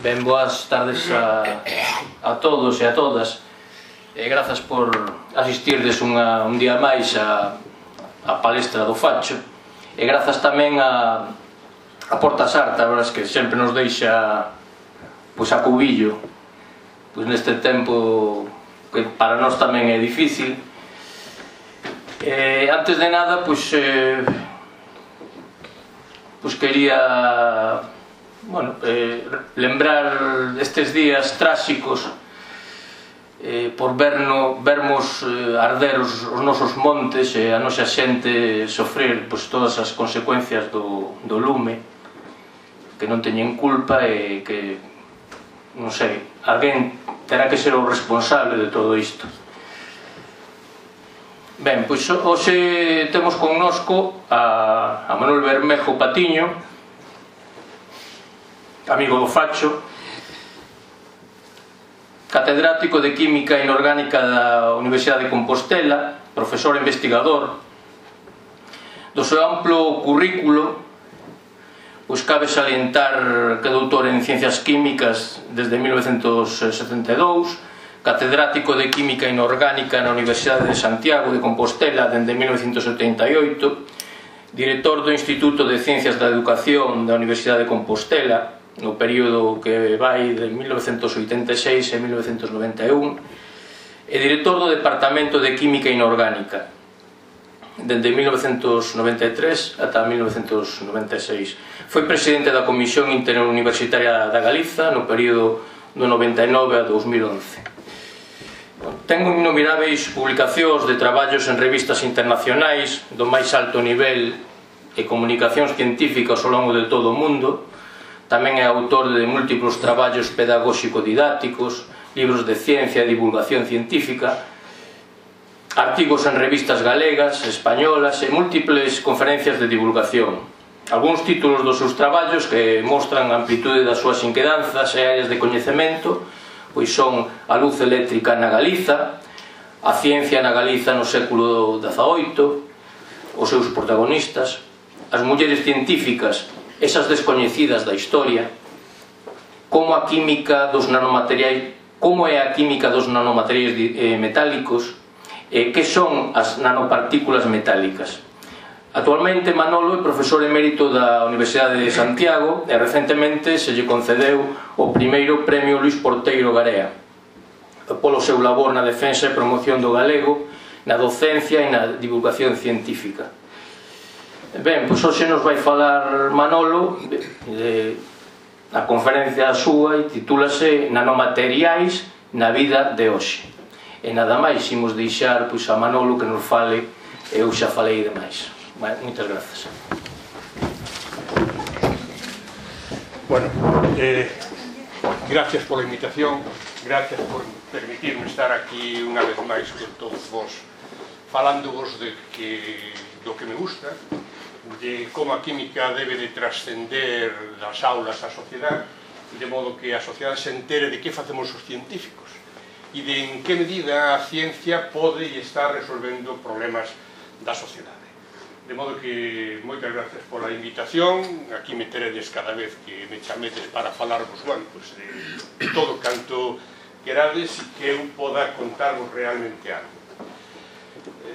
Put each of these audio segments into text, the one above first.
Ben, boas tardes a todos e a todas. Grazas por asistirdes un día máis a palestra do Facho. E grazas tamén a Porta Sarta, a verdade que sempre nos deixa a cubillo neste tempo que para nós tamén é difícil. Antes de nada, quería lembrar estes días tráxicos por vermos arder os nosos montes e a nosa xente sofrer todas as consecuencias do lume, que non teñen culpa e que, non sei, alguén terá que ser o responsable de todo isto. Ben, pois hoxe temos connosco a Manuel Bermejo Patiño, amigo do Facho, catedrático de Química Inorgánica da Universidade de Compostela, profesor e investigador. Do seu amplo currículo, cabe salientar que é doutor en Ciencias Químicas desde 1972, catedrático de Química Inorgánica na Universidade de Santiago de Compostela dende 1978, director do Instituto de Ciencias da Educación da Universidade de Compostela no período que vai de 1986 a 1991, e director do Departamento de Química Inorgánica dende 1993 ata 1996. Foi presidente da Comisión Interuniversitaria da Galiza no período do 99 a 2011. Ten innumeráveis publicacións de traballos en revistas internacionais do máis alto nivel e comunicacións científicas ao longo de todo o mundo. Tamén é autor de múltiplos traballos pedagóxico-didácticos, libros de ciencia e divulgación científica, artigos en revistas galegas, españolas e múltiples conferencias de divulgación. Algúns títulos dos seus traballos que mostran a amplitude das súas inquedanzas e áreas de coñecemento son a luz eléctrica na Galiza, a ciencia na Galiza no século XVIII, os seus protagonistas, as mulleres científicas, esas descoñecidas da historia, como é a química dos nanomateriais metálicos, que son as nanopartículas metálicas. Actualmente Manolo é profesor emérito da Universidade de Santiago e recentemente se lle concedeu o primeiro Premio Luís Porteiro Garea polo seu labor na defensa e promoción do galego, na docencia e na divulgación científica. Ben, pois hoxe nos vai falar Manolo, a conferencia súa e titúlase Nanomateriais na vida de hoxe. E nada máis, imos deixar a Manolo que nos fale, eu xa falei demais. Moitas grazas. Bueno, gracias pola invitación, gracias por permitirme estar aquí unha vez máis con todos vos, falándovos do que me gusta, de como a química debe de trascender das aulas á sociedade, de modo que a sociedade se entere de que facemos os científicos e de en que medida a ciencia pode e está resolvendo problemas da sociedade. De modo que moitas gracias pola invitación, aquí me teredes cada vez que me chamedes para falarvos de todo canto querades e que eu poda contarvos realmente algo.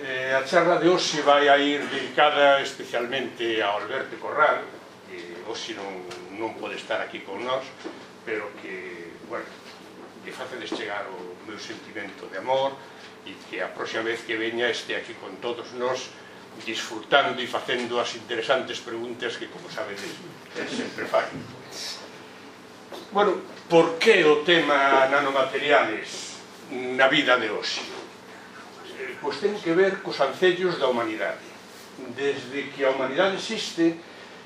A charla de hoxe vai a ir dedicada especialmente a Alberto Corral, que hoxe non pode estar aquí con nós, pero que, que facedes chegar o meu sentimento de amor e que a próxima vez que veña este aquí con todos nós, disfrutando e facendo as interesantes preguntas que, como sabedes, sempre fai. Bueno, por que o tema nanomateriales na vida de hoxe? Pois ten que ver cos ancellos da humanidade. Desde que a humanidade existe,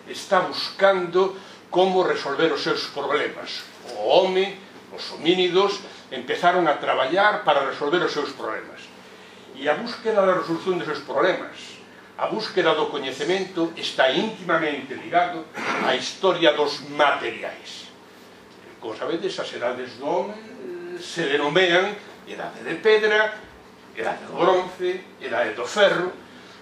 está buscando como resolver os seus problemas. O home, os homínidos, empezaron a traballar para resolver os seus problemas. E a búsqueda da resolución dos seus problemas, a búsqueda do coñecemento, está íntimamente ligado á historia dos materiais. Como sabedes, as edades do home se denomean edade de pedra, edade do bronce, edade do ferro.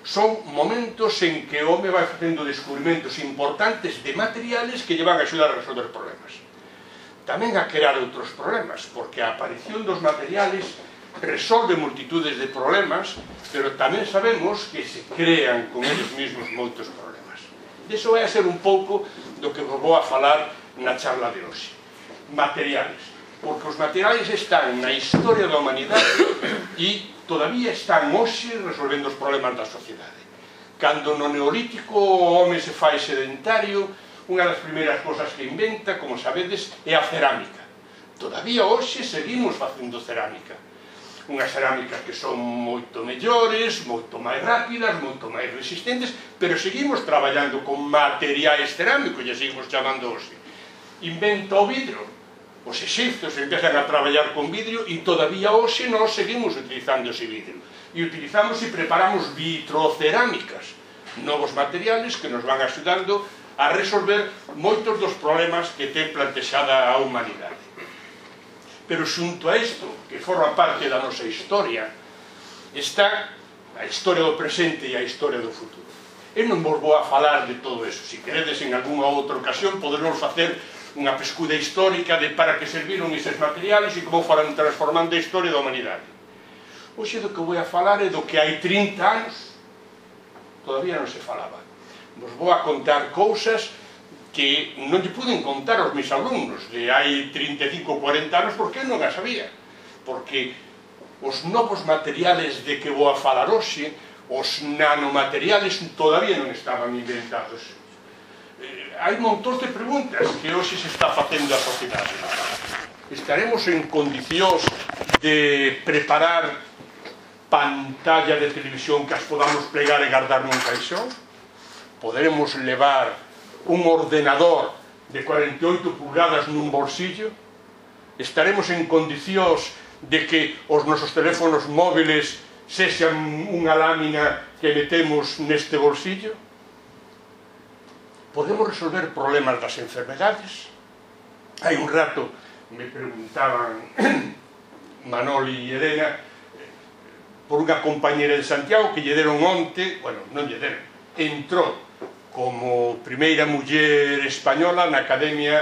Son momentos en que o home vai facendo descubrimentos importantes de materiales que lle van a axudar a resolver problemas. tamén a crear outros problemas, porque a aparición dos materiales resolve multitudes de problemas, pero tamén sabemos que se crean con eles mesmos moitos problemas. Iso vai a ser un pouco do que vos vou a falar na charla de hoxe. Materiales. Porque os materiales están na historia da humanidade e todavía están hoxe resolvendo os problemas da sociedade. Cando no neolítico o home se fai sedentario, unha das primeiras cosas que inventa, como sabedes, é a cerámica. Todavía hoxe seguimos facendo cerámica. Unhas cerámicas que son moito mellores, moito máis rápidas, moito máis resistentes, pero seguimos traballando con materiais cerámicos, e seguimos chamando hoxe. Inventa o vidro. Os exipcios empezan a traballar con vidro e todavía hoxe nós seguimos utilizando ese vidro. E utilizamos e preparamos vitrocerámicas, novos materiales que nos van axudando a resolver moitos dos problemas que ten plantexada a humanidade. Pero xunto a isto, que forma parte da nosa historia, está a historia do presente e a historia do futuro. Eu non vos vou a falar de todo eso. Se queredes en algunha outra ocasión, poderemos facer unha pescuda histórica de para que serviron eses materiales e como foran transformando a historia da humanidade. Hoxe do que vou a falar é do que hai 30 anos todavía non se falaba. Vos vou a contar cousas que non lle puden contar aos meus alumnos de hai 35 ou 40 anos porque eu non as sabía. Porque os novos materiales de que vou a falar hoxe, os nanomateriales, todavía non estaban inventados. Hai montón de preguntas que hoxe se está facendo a sociedade. Estaremos en condicións de preparar pantalla de televisión que as podamos plegar e guardar nun caixón? Poderemos levar un ordenador de 48 pulgadas nun bolsillo? Estaremos en condicións de que os nosos teléfonos móviles sexan unha lámina que metemos neste bolsillo? Podemos resolver problemas das enfermedades? Hai un rato me preguntaban Manoli e Elena por unha compañera de Santiago que lle deron onte, bueno, non lle deron, entrou como primeira muller española na Academia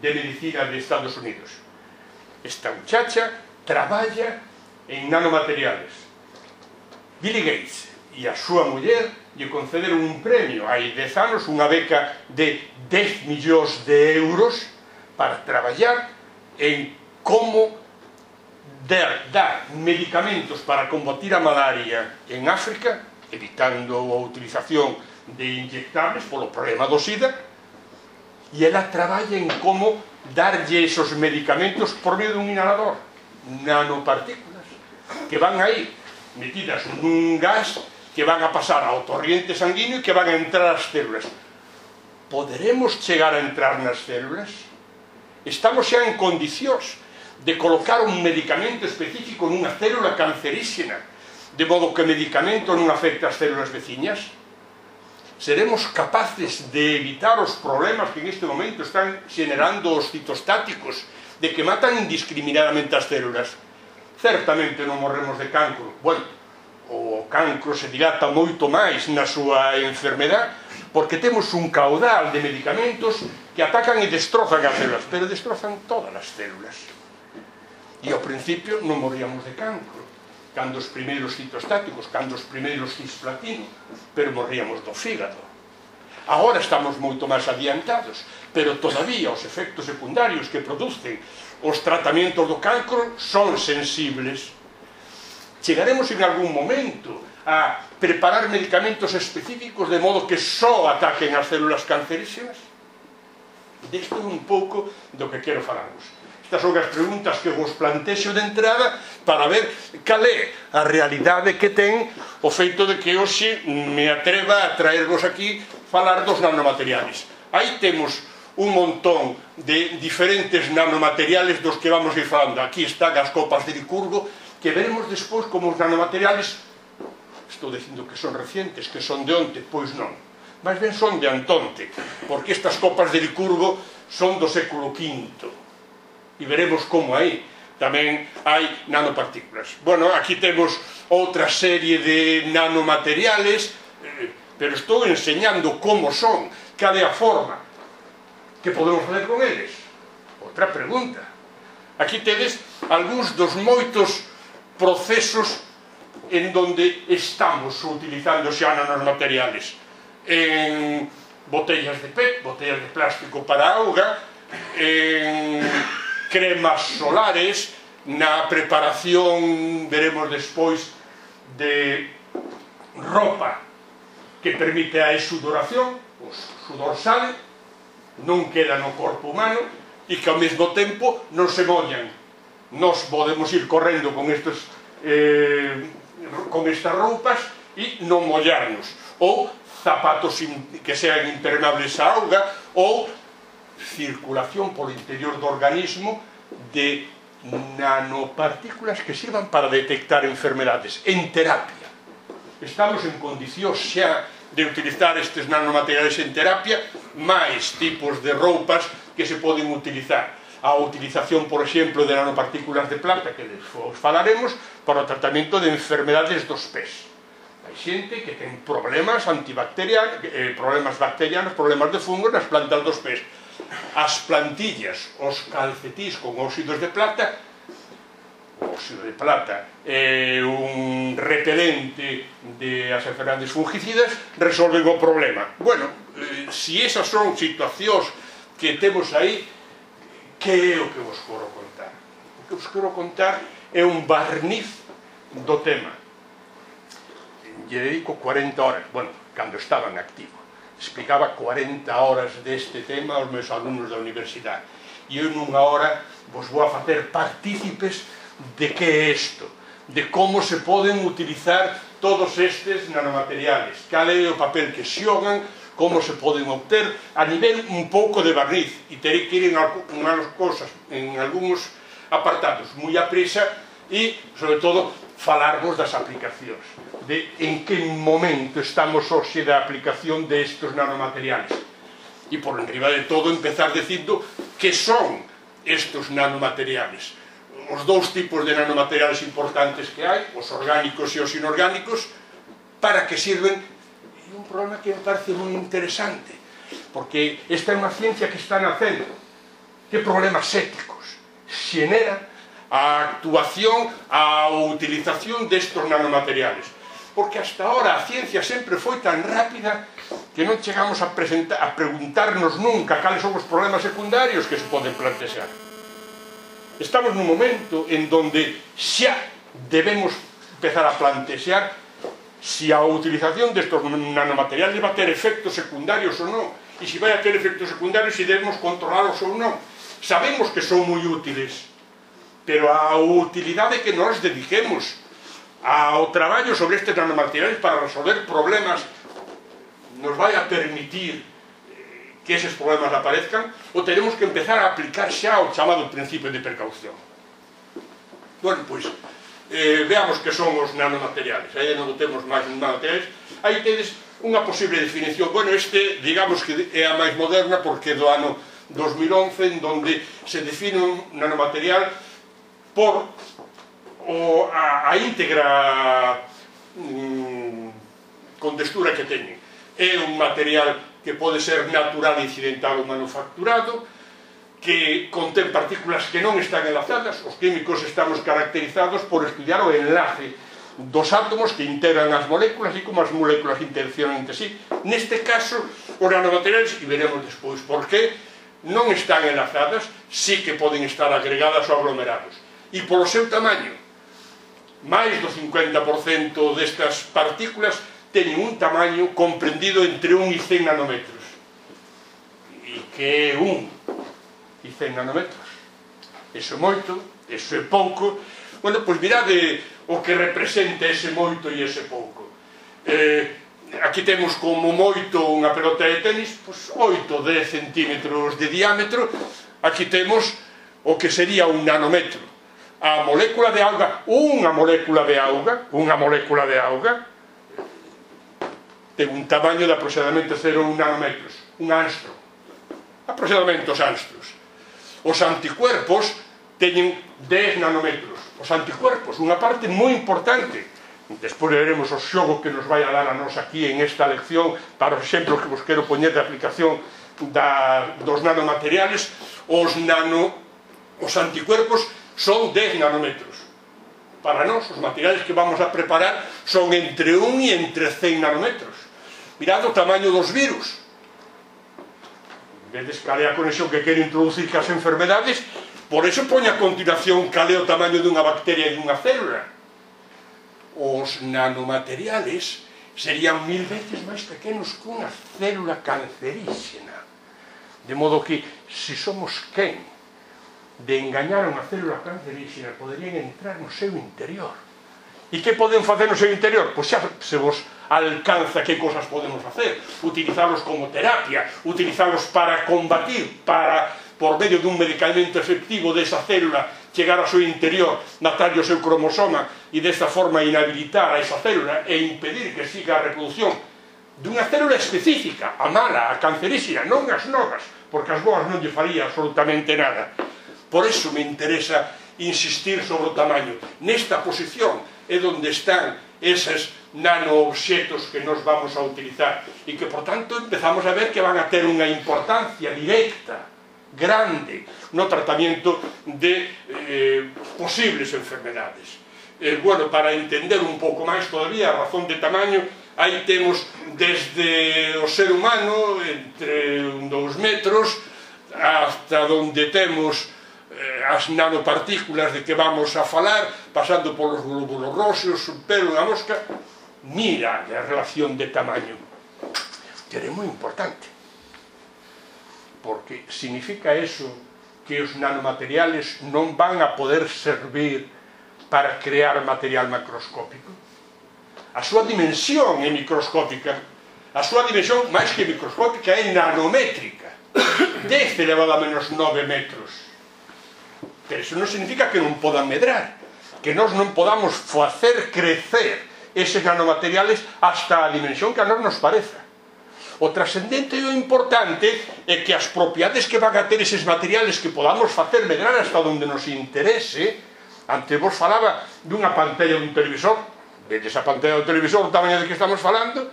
de Medicina de Estados Unidos. Esta muchacha traballa en nanomateriales. Billy Gates e a súa muller lle concederon un premio hai 10 anos, unha beca de 10 millóns de euros para traballar en como dar medicamentos para combatir a malaria en África, evitando a utilización de inyectables polo problema do SIDA, e ela traballa en como darlle esos medicamentos por medio dun inhalador, nanopartículas, que van aí metidas nun gas que van a pasar ao torrente sanguíneo e que van a entrar ás células. Poderemos chegar a entrar nas células? Estamos xa en condicións de colocar un medicamento específico nunha célula cancerígena, de modo que o medicamento non afecta as células veciñas? Seremos capaces de evitar os problemas que en este momento están generando os citostáticos, de que matan indiscriminadamente as células? Certamente non morremos de cancro. Bueno, o cancro se dilata moito máis na súa enfermedade porque temos un caudal de medicamentos que atacan e destrozan as células, pero destrozan todas as células. E ao principio non moríamos de cancro, cando os primeiros citostáticos, cando os primeiros cisplatino, pero morríamos do fígado. Agora estamos moito máis adiantados, pero todavía os efectos secundarios que producen os tratamentos do cancro son sensibles. Chegaremos en algún momento a preparar medicamentos específicos de modo que só ataquen as células cancerígenas? Desto é un pouco do que quero falarvos. Estas son as preguntas que vos plantexo de entrada para ver cal é a realidade que ten o feito de que hoxe me atreva a traervos aquí falar dos nanomateriales. Aí temos un montón de diferentes nanomateriales dos que vamos ir falando. Aquí están as copas de Licurgo, que veremos despois como os nanomateriales, estou dicindo que son recientes, que son de onte, pois non, máis ben son de antonte, porque estas copas de Licurgo son do século V, e veremos como aí tamén hai nanopartículas. Bueno, aquí temos outra serie de nanomateriales, pero estou enseñando como son, cal é a forma que podemos facer con eles. Outra pregunta. Aquí tedes algúns dos moitos procesos en donde estamos utilizando xa nanomateriales. En botellas de PET, botellas de plástico para auga, en cremas solares, na preparación, veremos despois, de roupa que permite a exudoración, o sudor sale, non queda no corpo humano e que ao mesmo tempo non se mollan. Nos podemos ir correndo con estas roupas e non mollarnos, ou zapatos que sean impermeables á auga, ou circulación polo interior do organismo de nanopartículas que sirvan para detectar enfermedades en terapia. Estamos en condicións xa de utilizar estes nanomateriales en terapia, máis tipos de roupas que se poden utilizar. A utilización, por exemplo, de nanopartículas de plata, que os falaremos, para o tratamento de enfermedades dos pés. Hai xente que ten problemas antibacterianos, problemas bacterianos, problemas de fungos nas plantas dos pés. As plantillas, os calcetís con óxidos de plata, o óxido de plata é un repelente das enfermedades fungicidas, resolven o problema. Bueno, se esas son situacións que temos aí, que é o que vos quero contar? O que vos quero contar é un barniz do tema. Lle dedico 40 horas, bueno, cando estaba en activo. Explicaba 40 horas deste tema aos meus alumnos da universidade. E eu nunha hora vos vou a facer partícipes de que é isto, de como se poden utilizar todos estes nanomateriales, cal é o papel que xogan, como se poden obter a nivel un pouco de barniz, e terei que ir en algunhas cosas, en algúns apartados moi a prisa, e, sobre todo, falarvos das aplicacións, de en que momento estamos hoxe da aplicación destes nanomateriales. E, por enriba de todo, empezar dicindo que son estes nanomateriales. Os dous tipos de nanomateriales importantes que hai, os orgánicos e os inorgánicos, para que sirven. E un problema que me parece moi interesante, porque esta é unha ciencia que está nacendo. Que problemas éticos xenera a actuación, a utilización destes nanomateriales? Porque hasta ahora a ciencia sempre foi tan rápida que non chegamos a preguntarnos nunca cales son os problemas secundarios que se poden plantear. Estamos nun momento en donde xa debemos empezar a plantear se a utilización destes nanomateriales vai ter efectos secundarios ou non, e se vai a ter efectos secundarios se debemos controlalos ou non. Sabemos que son moi útiles, pero a utilidade que nos dediquemos ao traballo sobre estes nanomateriales para resolver problemas nos vai a permitir que eses problemas aparezcan, ou teremos que empezar a aplicar xa o chamado principio de precaución. Bueno, pois, veamos que son os nanomateriales. Aí non temos máis nanomateriales. Aí tedes unha posible definición. Bueno, este, digamos que é a máis moderna, porque é do ano 2011, en donde se define un nanomaterial por a íntegra con textura que teñen. É un material que pode ser natural, incidental ou manufacturado, que contén partículas que non están enlazadas. Os químicos estamos caracterizados por estudiar o enlace dos átomos que integran as moléculas e como as moléculas interaccionan entre sí. Neste caso, os nanomateriales, e veremos despois por qué, non están enlazadas, sí que poden estar agregadas ou aglomerados. E polo seu tamaño, máis do 50% destas partículas teñen un tamaño comprendido entre 1 e 100 nanómetros. E que é 1 e 100 nanómetros? Eso é moito, eso é pouco. Bueno, pois mirade o que representa ese moito e ese pouco. Aquí temos como moito unha pelota de tenis, 8-10 centímetros de diámetro. Aquí temos o que sería un nanómetro. A molécula de auga, unha molécula de auga, ten un tamaño de aproximadamente 0,1 nanómetros, un angstrom, aproximadamente os angstros. Os anticuerpos teñen 10 nanómetros. Os anticuerpos, unha parte moi importante, despois veremos o xogo que nos vai a dar a nos aquí en esta lección para os exemplos que vos quero poñer de aplicación dos nanomateriales. Os anticuerpos son 10 nanómetros. Para nós, os materiales que vamos a preparar son entre 1 e entre 100 nanómetros. Mirad o tamaño dos virus. Vedes cal é a conexión que quero introducir cas enfermedades, por eso poño a continuación cal é o tamaño dunha bacteria e dunha célula. Os nanomateriales serían 1000 veces máis pequenos que unha célula canceríxena. De modo que, se somos quen de engañar a unha célula canceríxena, poderían entrar no seu interior. E que poden facer no seu interior? Pois xa se vos alcanza que cosas podemos facer. Utilizalos como terapia, utilizalos para combatir, por medio dun medicamento efectivo desa célula, chegar ao seu interior, matarlle o seu cromosoma e desta forma inhabilitar a esa célula e impedir que siga a reproducción dunha célula específica, a mala, a canceríxena, non as novas, porque as boas non lle faría absolutamente nada. Por eso me interesa insistir sobre o tamaño. Nesta posición é onde están eses nanoobxetos que nos vamos a utilizar e que, por tanto, empezamos a ver que van a ter unha importancia directa, grande, no tratamento de posibles enfermedades. Bueno, para entender un pouco máis todavía a razón de tamaño, aí temos desde o ser humano, entre 2 metros, hasta onde temos as nanopartículas de que vamos a falar, pasando polos glóbulos roxos, o pelo da mosca. Mira a relación de tamaño, que é moi importante, porque significa eso que os nanomateriales non van a poder servir para crear material macroscópico. A súa dimensión é microscópica, a súa dimensión máis que microscópica é nanométrica, 10 elevado a menos 9 metros. Pero eso non significa que non podan medrar, que nós non podamos facer crecer eses nanomateriales hasta a dimensión que a nós nos pareza. O trascendente e o importante é que as propiedades que van a ter eses materiales que podamos facer medrar hasta onde nos interese. Antes vos falaba dunha pantalla dun televisor, vedes a pantalla do televisor, o tamaño de que estamos falando,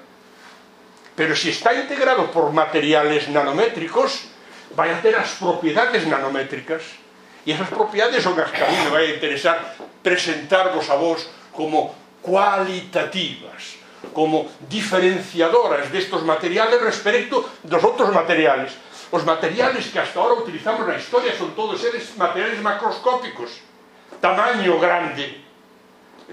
pero se está integrado por materiales nanométricos, vai a ter as propiedades nanométricas. E esas propiedades son as que a mí me vai a interesar presentarvos a vos como cualitativas, como diferenciadoras destos materiales respecto dos outros materiales. Os materiales que hasta ahora utilizamos na historia son todos eles materiales macroscópicos, tamaño grande.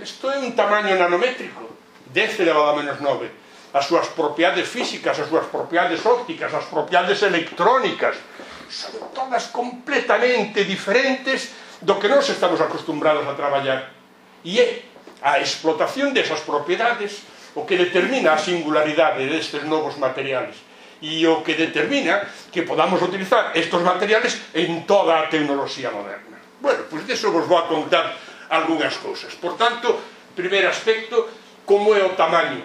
Isto é un tamaño nanométrico, 10 elevado a menos 9. As súas propiedades físicas, as súas propiedades ópticas, as propiedades electrónicas, son todas completamente diferentes do que nós estamos acostumbrados a traballar. E é a explotación desas propiedades o que determina a singularidade destes novos materiales e o que determina que podamos utilizar estes materiales en toda a tecnoloxía moderna. Bueno, pois deso vos vou a contar algunhas cousas. Por tanto, primeiro aspecto, como é o tamaño,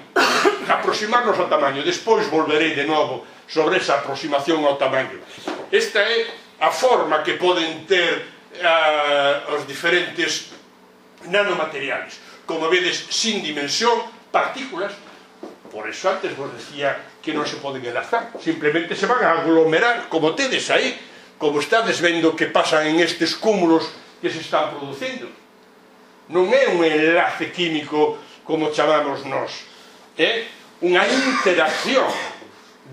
aproximarnos ao tamaño. Despois volverei de novo sobre esa aproximación ao tamaño. Esta é a forma que poden ter os diferentes nanomateriales. Como vedes, sin dimensión, partículas. Por eso antes vos decía que non se poden enlazar, simplemente se van a aglomerar, como tedes aí, como estades vendo que pasan en estes cúmulos que se están producindo. Non é un enlace químico como chamamos nós, é unha interacción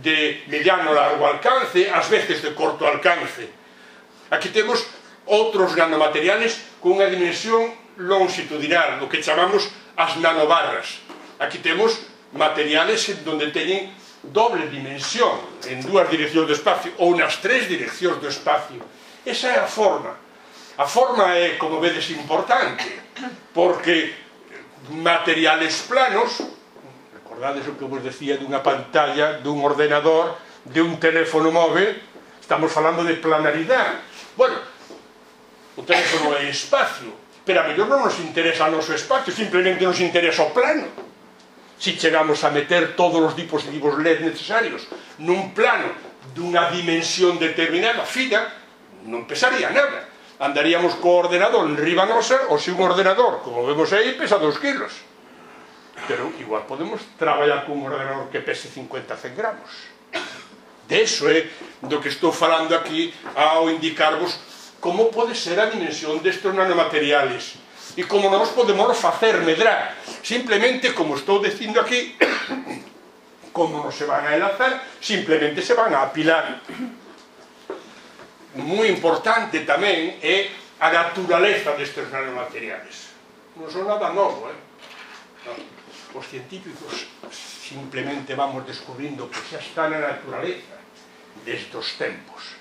de mediano largo alcance, ás veces de corto alcance. Aquí temos outros nanomateriales con unha dimensión longitudinal, o que chamamos as nanobarras. Aquí temos materiales onde teñen doble dimensión, en dúas direccións do espacio, ou nas tres direccións do espacio. Esa é a forma. A forma é, como vedes, importante, porque materiales planos, recordades o que vos decía dunha pantalla, dun ordenador, de un teléfono móvil, estamos falando de planaridade. Bueno, o teléfono é espacio, pero a mellor non nos interesa o noso espacio, simplemente nos interesa o plano. Si chegamos a meter todos os dispositivos LED necesarios nun plano dunha dimensión determinada, fina, non pesaría nada. Andaríamos co ordenador en riba nosa, ou se un ordenador, como vemos aí, pesa 2 kilos. pero igual podemos traballar con un ordenador que pese 50 100 gramos. De eso é do que estou falando aquí ao indicarvos como pode ser a dimensión destes nanomateriales e como nós podemos facer medrar. Simplemente, como estou dicindo aquí, como non se van a enlazar, simplemente se van a apilar. Moi importante tamén é a naturaleza destes nanomateriales. Non son nada novo, os científicos simplemente vamos descubrindo que xa está na naturaleza destes tempos,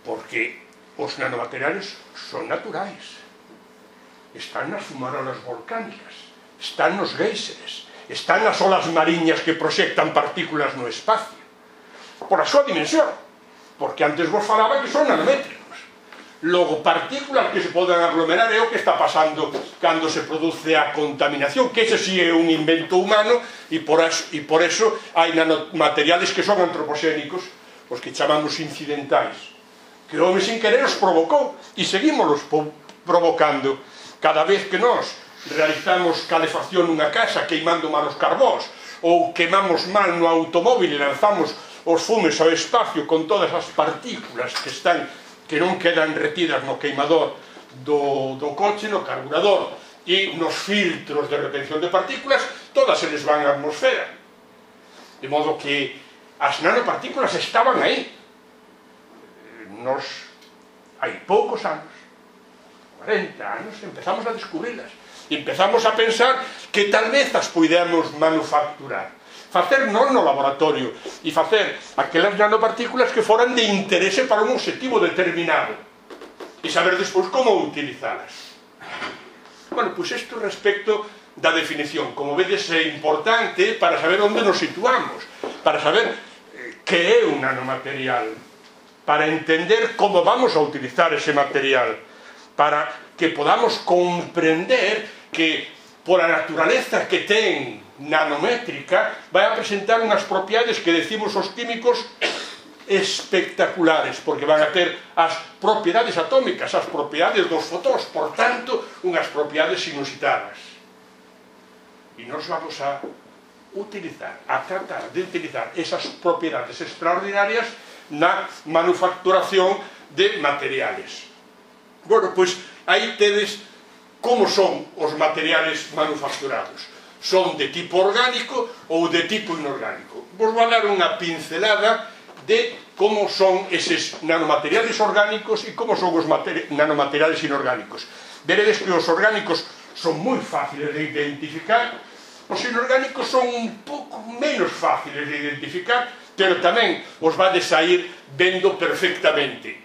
porque os nanomateriales son naturais, están nas fumarolas volcánicas, están nos géiseres, están nas olas mariñas que proxectan partículas no espacio, por a súa dimensión, porque antes vos falaba que son nanométricos. Logo, partículas que se poden aglomerar é o que está pasando cando se produce a contaminación, que ese sí é un invento humano, e por eso hai nanomateriales que son antropoxénicos, os que chamamos incidentais, que o home sin querer os provocou, e seguímolos provocando. Cada vez que nós realizamos calefacción nunha casa queimando mal os carbós, ou quemamos mal no automóvil e lanzamos os fumes ao espacio con todas as partículas que non quedan retidas no queimador do coche, no carburador e nos filtros de retención de partículas, todas eles van á atmosfera. De modo que as nanopartículas estaban aí. Nos, hai poucos anos, 40 anos, empezamos a descubrirlas. Empezamos a pensar que tal vez as puidemos manufacturar. Facer non no laboratorio e facer aquelas nanopartículas que foran de interese para un objetivo determinado e saber despois como utilizalas. Bueno, pois isto respecto da definición, como vedes, é importante para saber onde nos situamos, para saber que é un nanomaterial, para entender como vamos a utilizar ese material, para que podamos comprender que por a naturaleza que ten nanométrica vai a presentar unhas propiedades que decimos os químicos espectaculares, porque van a ter as propiedades atómicas, as propiedades dos fotóns, por tanto, unhas propiedades inusitadas. E nos vamos a utilizar, a tratar de utilizar esas propiedades extraordinarias na manufacturación de materiales. Bueno, pois aí tedes como son os materiales manufacturados. Son de tipo orgánico ou de tipo inorgánico. Vos vou dar unha pincelada de como son eses nanomateriales orgánicos e como son os nanomateriales inorgánicos. Veredes que os orgánicos son moi fáciles de identificar, os inorgánicos son un pouco menos fáciles de identificar, pero tamén os vades a ir vendo perfectamente.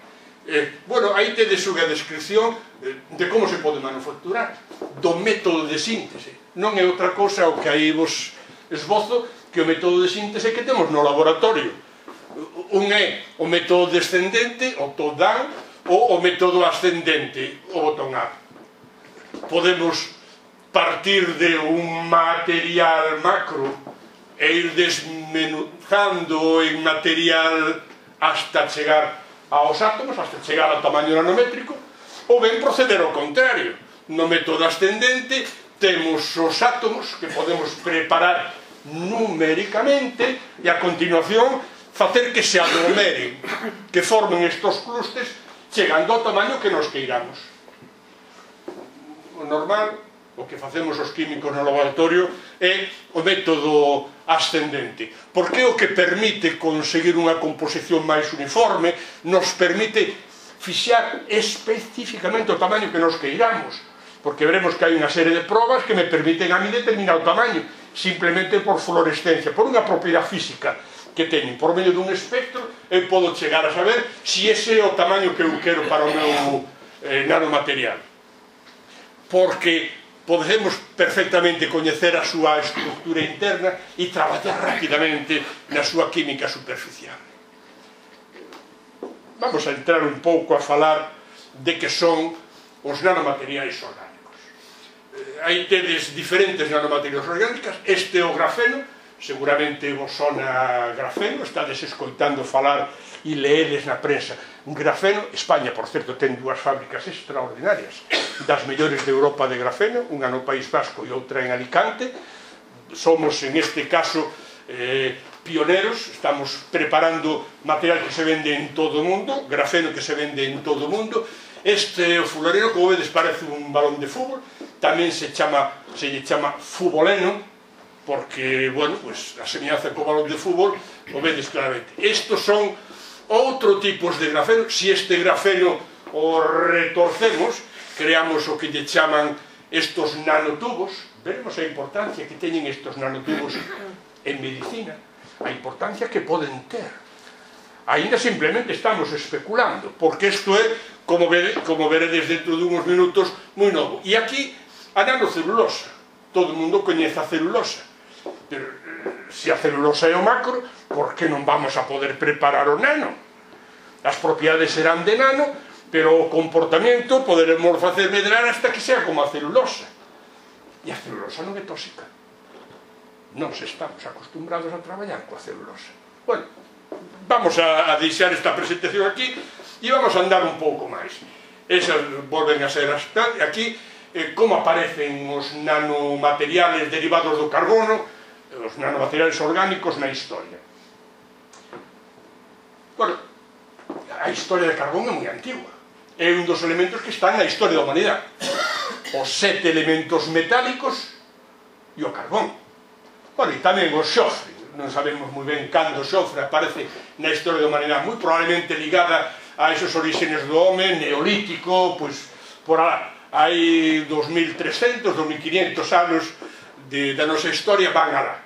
Bueno, aí tedes unha descripción de como se pode manufacturar, do método de síntese. Non é outra cousa o que aí vos esbozo que o método de síntese que temos no laboratorio. Un é o método descendente, o top-down, ou o método ascendente, o bottom-up. Podemos partir de un material macro e ir desmenuzando en material hasta chegar aos átomos, hasta chegar ao tamaño nanométrico, ou ben proceder ao contrario. No método ascendente temos os átomos que podemos preparar numéricamente e a continuación facer que se aglomeren, que formen estos clústeres chegando ao tamaño que nos queiramos. O normal, o que facemos os químicos no laboratorio, é o método ascendente, porque é o que permite conseguir unha composición máis uniforme, nos permite fixar especificamente o tamaño que nos queiramos, porque veremos que hai unha serie de probas que me permiten a mí determinar o tamaño, simplemente por fluorescencia, por unha propiedade física que teñen. Por medio dun espectro, eu podo chegar a saber se ese é o tamaño que eu quero para o meu nanomaterial. Porque podemos perfectamente coñecer a súa estructura interna e traballar rapidamente na súa química superficial. Vamos a entrar un pouco a falar de que son os nanomateriais orgánicos. Aí tedes diferentes nanomateriais orgánicas. Este é o grafeno, seguramente vos sona grafeno, estades escoitando falar e leedes na prensa grafeno. España, por certo, ten dúas fábricas extraordinarias, das mellores de Europa de grafeno, unha no País Vasco e outra en Alicante. Somos, en este caso, pioneros, estamos preparando material que se vende en todo o mundo, grafeno que se vende en todo o mundo. Este fulareno, como vedes, parece un balón de fútbol, tamén se lle chama fuboleno, porque, bueno, pues, a semellanza co balón de fútbol, o vedes claramente. Estos son outro tipos de grafeno. Si este grafeno o retorcemos, creamos o que lle chaman estos nanotubos. Veremos a importancia que teñen estos nanotubos en medicina, a importancia que poden ter. Ainda simplemente estamos especulando, porque isto é, como veredes dentro de uns minutos, moi novo. E aquí, a nanocelulosa. Todo o mundo coñece a celulosa. Pero, se a celulosa é o macro, por que non vamos a poder preparar o nano? As propiedades serán de nano, pero o comportamento poderemos facer medrar hasta que sea como a celulosa. E a celulosa non é tóxica. Non se estamos acostumbrados a traballar coa celulosa. Bueno, vamos a deixar esta presentación aquí e vamos a andar un pouco máis. Esas volven a ser aquí, como aparecen os nanomateriales derivados do carbono, os nanomateriales orgánicos na historia. Bueno, a historia de carbón é moi antigua. É un dos elementos que están na historia da humanidade. Os 7 elementos metálicos e o carbón. Bueno, e tamén o xofre. Non sabemos moi ben cando o xofre aparece na historia da humanidade, moi probablemente ligada a esos orígenes do home, neolítico, pois por alá. Hai 2300, 2500 anos da nosa historia van alá.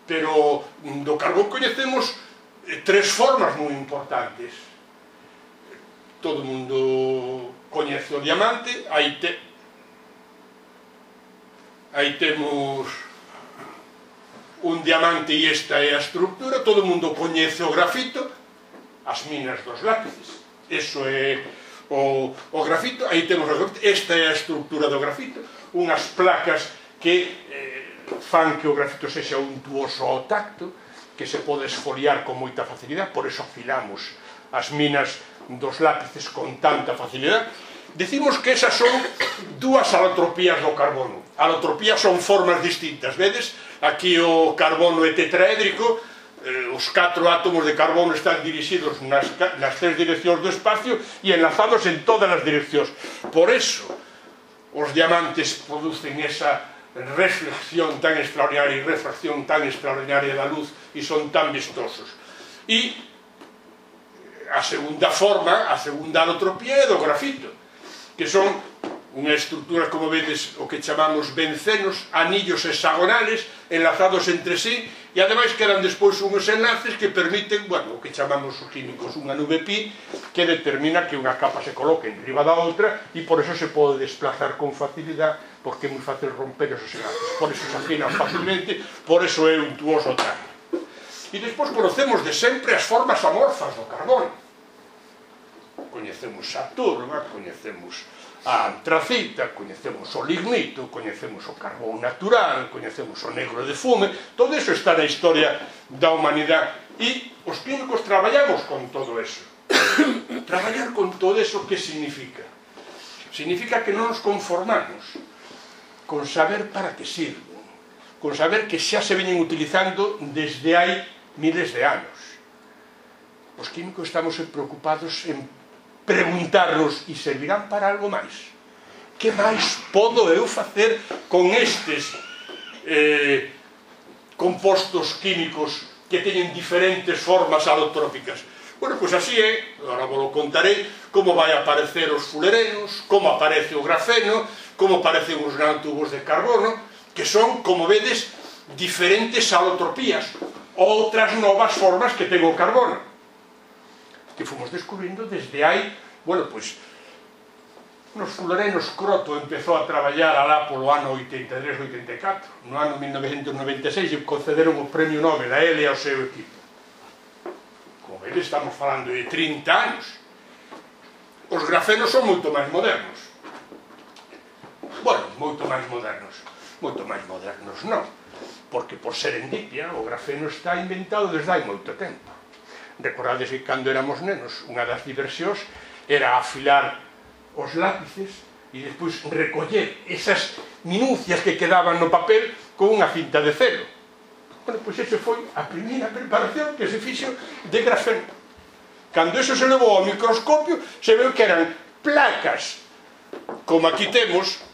Pero do carbón coñecemos 3 formas moi importantes. Todo o mundo coñece o diamante, aí temos un diamante e esta é a estructura. Todo o mundo coñece o grafito, as minas dos lápices, eso é o grafito. Aí temos o grafito, esta é a estructura do grafito, unhas placas que fan que o grafito sexa untuoso ao tacto, que se pode esfoliar con moita facilidade, por eso afilamos as minas dos lápices con tanta facilidade. Decimos que esas son dúas alotropías do carbono. Alotropías son formas distintas, vedes? Aquí o carbono é tetraédrico, os 4 átomos de carbono están dirixidos nas 3 direccións do espacio e enlazados en todas as direccións. Por eso os diamantes producen esa reflexión tan extraordinaria e refracción tan extraordinaria da luz e son tan vistosos. E a segunda forma, a segunda alotropía é do grafito, que son unha estructura, como vedes, o que chamamos bencenos, anillos hexagonales enlazados entre sí, e ademais quedan despois unhos enlaces que permiten, bueno, o que chamamos os químicos unha nube pi, que determina que unha capa se coloque en riba da outra e por eso se pode desplazar con facilidade, porque é moi fácil romper esos enlaces, por eso se afinan facilmente, por eso é untuoso tal. E despois conocemos de sempre as formas amorfas do carbono. Coñecemos a turba, coñecemos a antracita, coñecemos o lignito, coñecemos o carbón natural, coñecemos o negro de fume. Todo eso está na historia da humanidade e os químicos traballamos con todo eso. Traballar con todo eso, que significa? Significa que non nos conformamos con saber para que sirven, con saber que xa se veñen utilizando desde hai miles de anos. Os químicos estamos preocupados en preguntarnos, e servirán para algo máis? Que máis podo eu facer con estes compostos químicos que teñen diferentes formas alotrópicas? Bueno, pois así é, agora vos lo contarei, como vai aparecer os fulerenos, como aparece o grafeno, como aparecen os nanotubos de carbono, que son, como vedes, diferentes alotropías, outras novas formas que ten o carbono, que fomos descubrindo desde hai, bueno, pois, nos fulerenos Croto empezou a traballar alá polo ano 83-84, no ano 1996 e concederon o premio Nobel a ele e ao seu equipo. Como vedes, estamos falando de 30 anos. Os grafenos son moito máis modernos. Bueno, moito máis modernos non, porque por serendipia o grafeno está inventado desde hai moito tempo. Recordades que cando éramos nenos unha das diversións era afilar os lápices e despois recoller esas minucias que quedaban no papel con unha cinta de celo. Bueno, pois esa foi a primeira preparación que se fixo de grafeno. Cando eso se levou ao microscopio, se veu que eran placas, como aquí temos,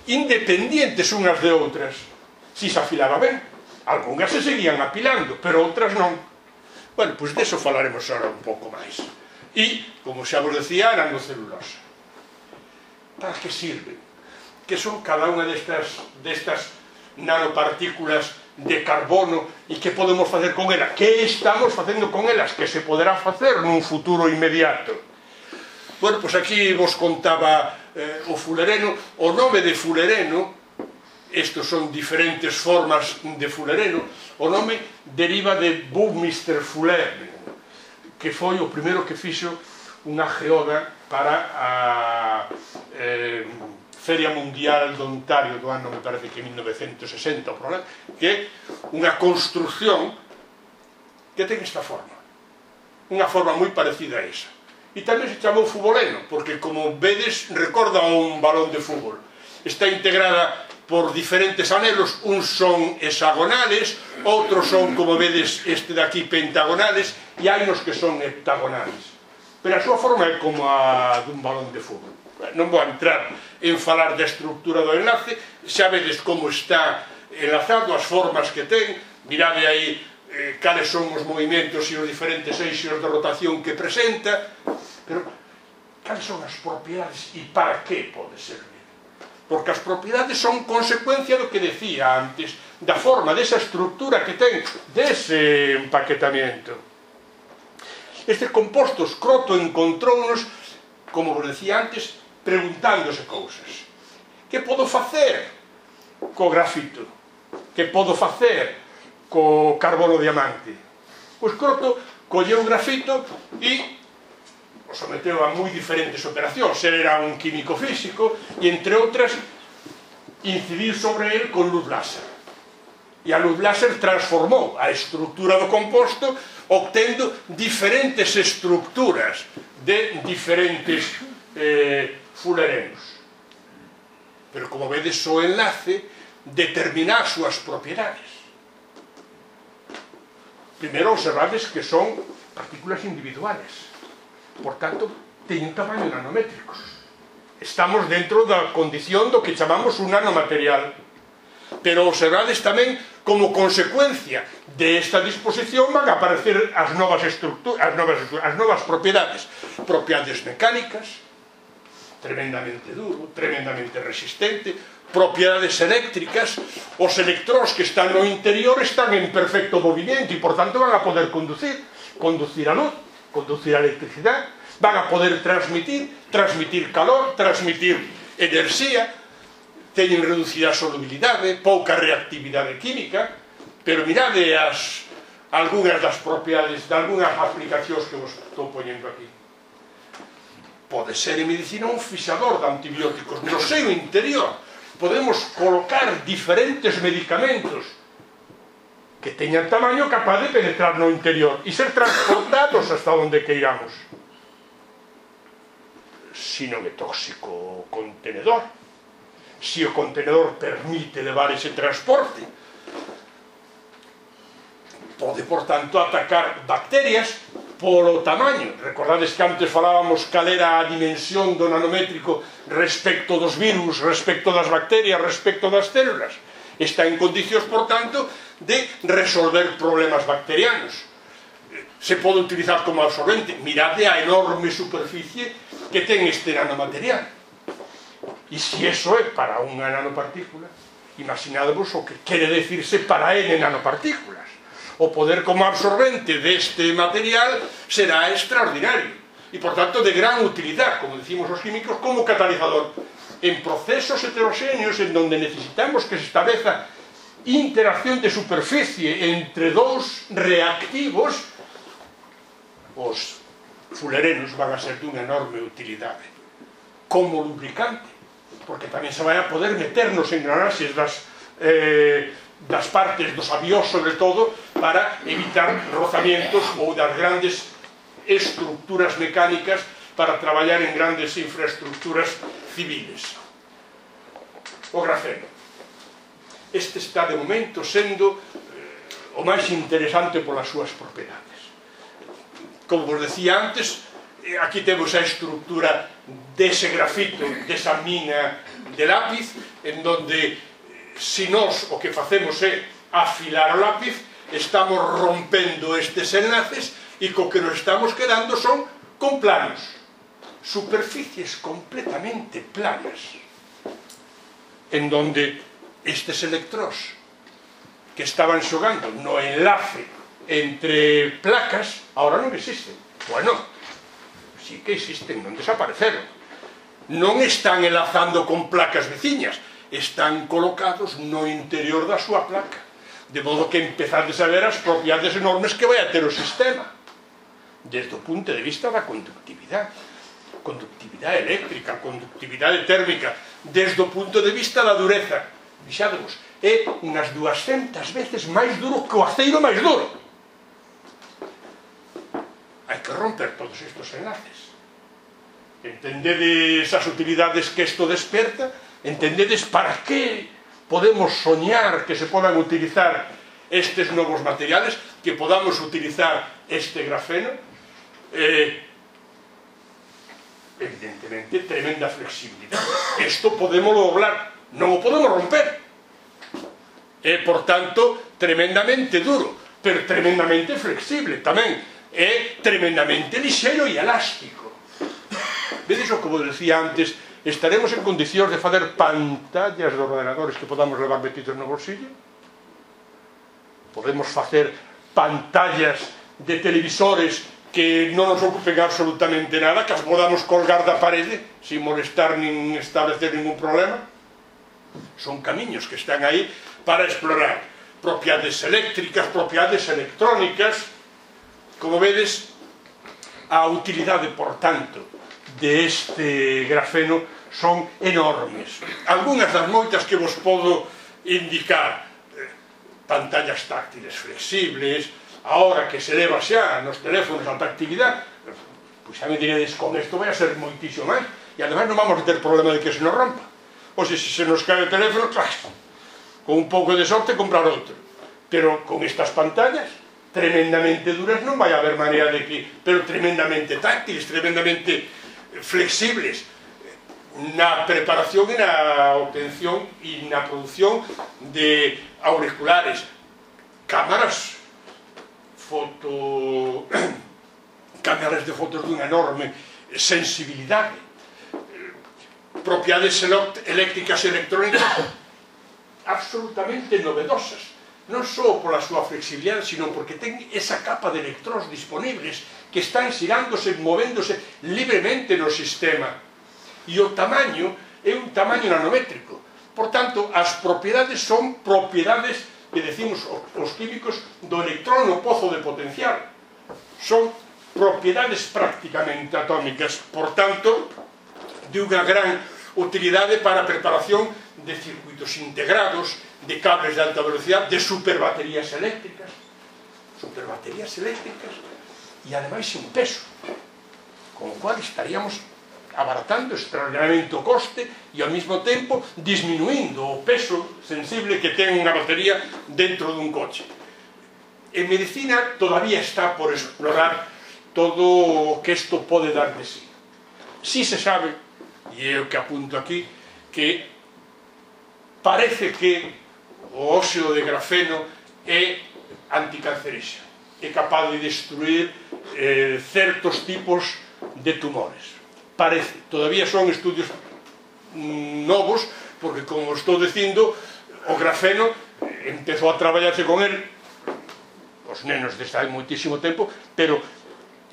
independientes unhas de outras. Si se afilaba ben, algunhas se seguían apilando, pero outras non. Bueno, pois deso falaremos ahora un pouco máis. E, como xa vos decía, a nanocelulosa. Para que sirven? Que son cada unha destas nanopartículas de carbono e que podemos facer con elas? Que estamos facendo con elas? Que se poderá facer nun futuro inmediato? Bueno, pois aquí vos contaba o fulereno. O nome de fulereno, estos son diferentes formas de fulereno, o nome deriva de Buckminster Fuller, que foi o primeiro que fixo unha geoda para a Feria Mundial do Ontario do ano, me parece que 1960, que é unha construcción que ten esta forma, unha forma moi parecida a esa. E tamén se chamou fuboleno, porque, como vedes, recorda a un balón de fútbol. Está integrada por diferentes anelos, uns son hexagonales, outros son, como vedes, este de aquí, pentagonales, e hai nos que son heptagonales. Pero a súa forma é como a dun balón de fútbol. Non vou entrar en falar da estructura do enlace, xa vedes como está enlazado, as formas que ten, mirade aí cales son os movimentos e os diferentes eixos de rotación que presenta, pero cales son as propiedades e para que pode servir? Porque as propiedades son consecuencia do que decía antes, da forma, desa estructura que ten, dese empaquetamiento. Estes compostos Croto encontrounos, como vos decía antes, preguntándose cousas. Que podo facer co grafito? Que podo facer co carbono diamante? Pois Croto colleu o grafito e o someteu a moi diferentes operacións. Ele era un químico físico e, entre outras, incidiu sobre ele con luz láser. E a luz láser transformou a estructura do composto, obtendo diferentes estructuras de diferentes fulerenos. Pero, como vedes, o enlace determina as súas propiedades. Primeiro, observades que son partículas individuales. Por tanto, teñen tamaño nanométricos. Estamos dentro da condición do que chamamos un nanomaterial. Pero observades tamén como consecuencia desta disposición van a aparecer as novas propiedades. Propiedades mecánicas, tremendamente duro, tremendamente resistente, propiedades eléctricas, os electróns que están no interior están en perfecto movimento e, por tanto, van a poder conducir a luz, conducir a electricidade, van a poder transmitir calor, transmitir enerxía, teñen reducida a solubilidade, pouca reactividade química, pero mirade algunhas das propiedades de algunhas aplicacións que vos estou poñendo aquí. Pode ser en medicina un fixador de antibióticos. No seu interior podemos colocar diferentes medicamentos que teñan tamaño capaz de penetrar no interior e ser transportados hasta onde queiramos. Si non é tóxico o contenedor, si o contenedor permite levar ese transporte, pode, por tanto, atacar bacterias polo tamaño. Recordades que antes falábamos cal era a dimensión do nanométrico respecto dos virus, respecto das bacterias, respecto das células. Está en condicións, por tanto, de resolver problemas bacterianos. Se pode utilizar como absorbente. Mirade a enorme superficie que ten este nanomaterial. E se iso é para unha nanopartícula, imaginadvos o que quere decirse para N nanopartículas. O poder como absorbente deste material será extraordinario e, por tanto, de gran utilidade, como decimos os químicos, como catalizador. En procesos heterogéneos en donde necesitamos que se estableza interacción de superficie entre dous reactivos, os fulerenos van a ser dunha enorme utilidade. Como lubricante, porque tamén se vai a poder meter nos engranaxes das das partes dos avións, sobre todo, para evitar rozamientos ou das grandes estructuras mecánicas para traballar en grandes infraestructuras civiles. O grafeno. Este está, de momento, sendo o máis interesante polas súas propiedades. Como vos decía antes, aquí temos a estructura dese grafito, desa mina de lápiz, en donde, se nós o que facemos é afilar o lápiz, estamos rompendo estes enlaces e co que nos estamos quedando son con planos, superficies completamente planas, en donde estes electróns que estaban xogando no enlace entre placas, ahora non existen. Bueno, sí que existen, non desapareceron. Non están enlazando con placas veciñas, están colocados no interior da súa placa, de modo que empezades a ver as propiedades enormes que vai a ter o sistema, desde o punto de vista da conductividade eléctrica, conductividade térmica, desde o punto de vista da dureza. Fixadevos, é unhas 200 veces máis duro que o aceiro máis duro. Hai que romper todos estes enlaces. Entendedes as utilidades que isto desperta? Entendedes para que podemos soñar que se podan utilizar estes novos materiales, que podamos utilizar este grafeno? Evidentemente, tremenda flexibilidade. Isto podemos doblar, non o podemos romper. É, por tanto, tremendamente duro, pero tremendamente flexible tamén. É tremendamente lixeiro e elástico. Vedes o que vos decía antes, estaremos en condicións de facer pantallas de ordenadores que podamos levar metidos no bolsillo? Podemos facer pantallas de televisores que non nos ocupen absolutamente nada, que as podamos colgar da parede sin molestar nin establecer ningún problema? Son camiños que están aí para explorar propiedades eléctricas, propiedades electrónicas. Como vedes, a utilidade, por tanto, deste grafeno son enormes. Algúnas das moitas que vos podo indicar: pantallas táctiles flexibles, ahora que se leva xa nos teléfonos a actividade, pois xa me diredes, con isto vai a ser moitísimo máis, e ademais non vamos a ter problema de que se nos rompa. Ou se se nos cae o teléfono, con un pouco de sorte comprar outro. Pero con estas pantallas tremendamente duras non vai haber maneira de que, pero tremendamente táctiles, tremendamente flexibles na preparación e na obtención e na produción de auriculares, cámaras cámaras de fotos dunha enorme sensibilidade, propiedades eléctricas e electrónicas absolutamente novedosas, non só pola súa flexibilidade, sino porque ten esa capa de electróns disponibles que están xirándose, movéndose libremente no sistema, e o tamaño é un tamaño nanométrico. Por tanto, as propiedades son propiedades que decimos os químicos do electrón no pozo de potencial, son propiedades prácticamente atómicas, por tanto, de unha gran utilidade para a preparación de circuitos integrados, de cables de alta velocidade, de superbaterías eléctricas, e ademais sin peso, con o cual estaríamos abaratando extraordinariamente o coste e ao mesmo tempo disminuindo o peso sensible que ten unha batería dentro dun coche. En medicina todavía está por explorar todo o que isto pode dar de sí. Si se sabe, e é o que apunto aquí, que parece que o óxido de grafeno é anticancerígeno, é capaz de destruir certos tipos de tumores. Parece, todavía son estudios novos, porque, como estou dicindo, o grafeno empezou a traballarse con el os nenos desde hai moitísimo tempo, pero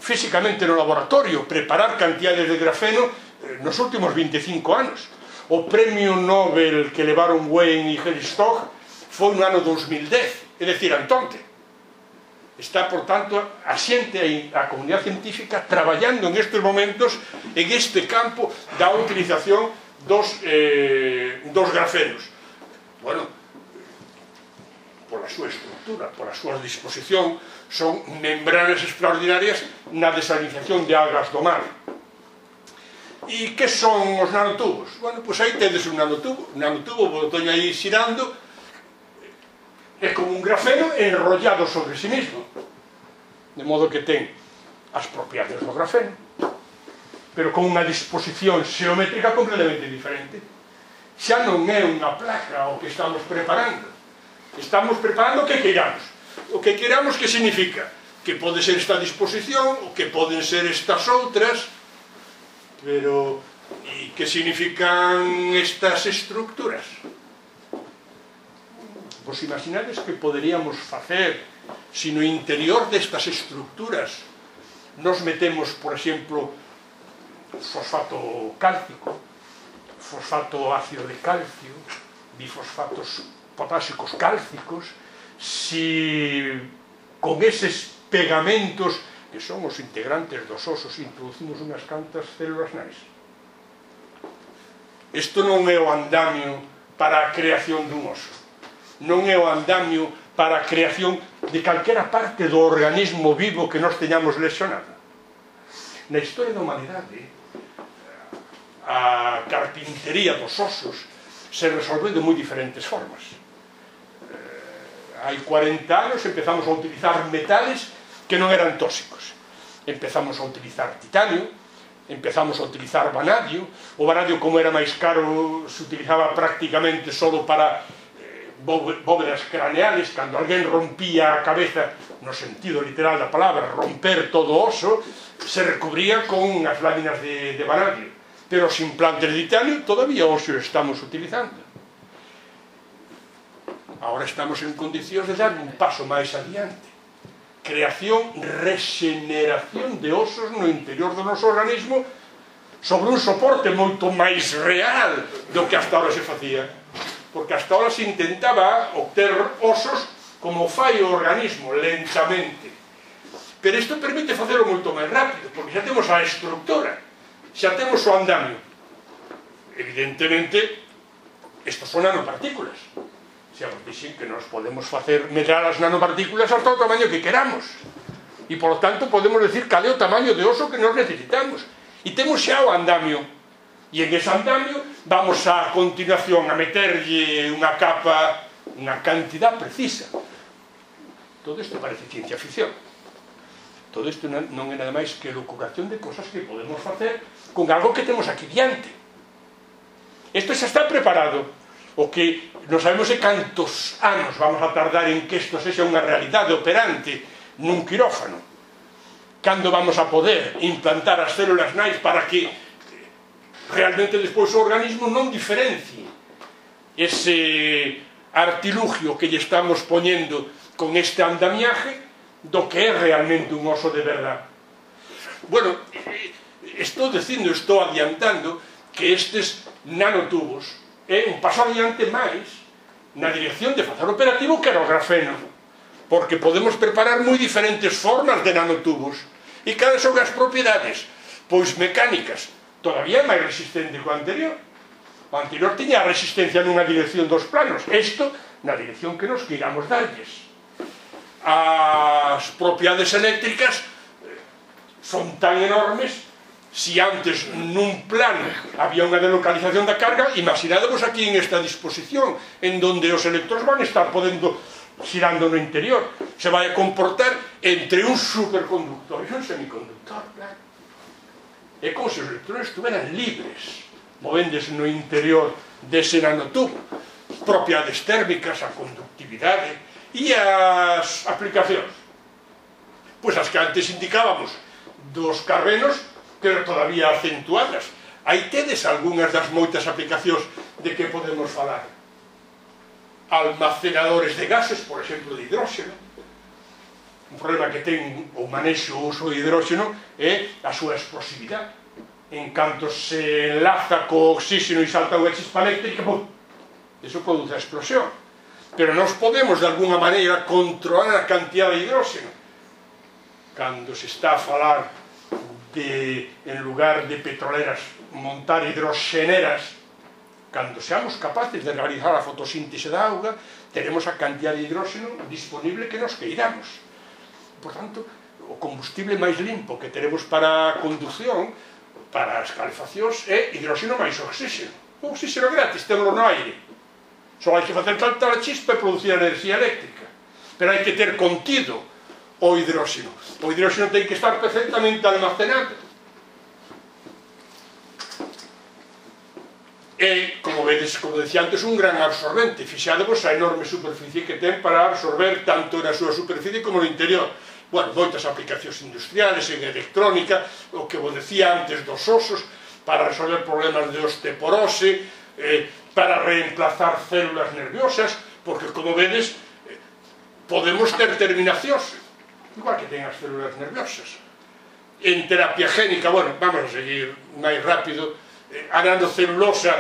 físicamente no laboratorio, preparar cantidades de grafeno nos últimos 25 anos. O premio Nobel que levaron Wayne e Herstog foi no ano 2010, é dicir, antonte. Está, por tanto, a xente, a comunidade científica, traballando en estes momentos en este campo da utilización dos grafenos. Bueno, pola súa estructura, pola súa disposición, son membranas extraordinarias na desalinización de algas do mar. E que son os nanotubos? Bueno, pois aí tedes un nanotubo, botoño aí xirando, é como un grafeno enrollado sobre si mismo, de modo que ten as propiedades do grafeno, pero con unha disposición xeométrica completamente diferente. Xa non é unha placa o que estamos preparando. Estamos preparando o que queiramos. O que queiramos, que significa? Que pode ser esta disposición, o que poden ser estas outras, pero e que significan estas estructuras? Vos imaginades que poderíamos facer se no interior destas estructuras nos metemos, por exemplo, fosfato cálcico, fosfato ácido de calcio, bifosfatos potásicos cálcicos, si con eses pegamentos que son os integrantes dos osos introducimos unhas cantas células nais. Isto non é o andamio para a creación dun oso, non é o andamio para a creación de calquera parte do organismo vivo que nos teñamos lesionado. Na historia da humanidade, a carpintería dos osos se resolveu de moi diferentes formas. Hai 40 anos empezamos a utilizar metales que non eran tóxicos. Empezamos a utilizar titanio, empezamos a utilizar vanadio. O vanadio, como era máis caro, se utilizaba prácticamente só para bóvedas craneales. Cando alguén rompía a cabeza, no sentido literal da palabra, romper todo o oso, se recubría con unhas láminas de vanadio. Pero os implantes de titanio todavía hoxe os estamos utilizando. Ahora estamos en condicións de dar un paso máis adiante. Creación, regeneración de osos no interior do noso organismo sobre un soporte moito máis real do que hasta ahora se facía. Porque hasta ahora se intentaba obter osos como fai o organismo, lentamente. Pero isto permite facelo moito máis rápido, porque xa temos a estructura, xa temos o andamio. Evidentemente, estos son nanopartículas. Xa vos dixen que nos podemos facer medrar as nanopartículas hasta o tamaño que queramos. E, por lo tanto, podemos decir cal é o tamaño de oso que nos necesitamos. E temos xa o andamio. E en ese andamio vamos a continuación a meterlle unha capa, unha cantidad precisa. Todo isto parece ciencia ficción. Todo isto non é nada máis que locuración de cosas que podemos facer con algo que temos aquí diante. Isto xa está preparado. O que non sabemos é cantos anos vamos a tardar en que isto sexa unha realidade operante nun quirófano. Cando vamos a poder implantar as células nais para que realmente despois o organismo non diferencie ese artilugio que lle estamos poñendo con este andamiaje do que é realmente un oso de verdade. Bueno, estou dicindo, estou adiantando que estes nanotubos é un paso adiante máis na dirección de facer operativo que era o grafeno, porque podemos preparar moi diferentes formas de nanotubos. E cales son as propiedades? Pois mecánicas, todavía máis resistente que o anterior. O anterior tiña a resistencia nunha dirección dos planos, isto na dirección que nos queiramos darlles. As propiedades eléctricas son tan enormes. Si antes nun plano había unha delocalización da carga, imaginadevos aquí en esta disposición, en donde os electróns van estar podendo xirando no interior. Se vai a comportar entre un superconductor e un semiconductor, claro. É como se os electróns estuveran libres, movéndose no interior dese nanotubo. Propiedades térmicas, a conductividade e as aplicacións. Pois as que antes indicábamos dos carbenos, pero todavía acentuadas. Aí tedes algunhas das moitas aplicacións de que podemos falar. Almacenadores de gases, por exemplo, de hidróxeno. Un problema que ten o manexo o uso de hidróxeno é a súa explosividade. En canto se enlaza co oxígeno e salta unha chispa eléctrica, eso produce a explosión. Pero nós podemos, de alguna maneira, controlar a cantidad de hidróxeno. Cando se está a falar en lugar de petroleras, montar hidroxeneras, cando seamos capaces de realizar a fotosíntese da auga, teremos a cantidad de hidróxeno disponible que nos queiramos. Por tanto, o combustible máis limpo que teremos para a conducción, para as calefaccións, é hidróxeno máis oxígeno. O oxígeno gratis, temos no aire. Só hai que facer saltar a chispa e producir enerxía eléctrica. Pero hai que ter contido o hidróxeno. O hidróxeno ten que estar perfectamente almacenado. E, como vedes, como decía antes, un gran absorbente. Fixadevos a enorme superficie que ten para absorber tanto na súa superficie como no interior. Bueno, moitas aplicacións industriales, en electrónica, o que vos decía antes dos osos, para resolver problemas de osteoporose, para reemplazar células nerviosas, porque, como vedes, podemos ter terminacións, igual que ten as células nerviosas. En terapia génica, bueno, vamos a seguir máis rápido, a nanocelulosa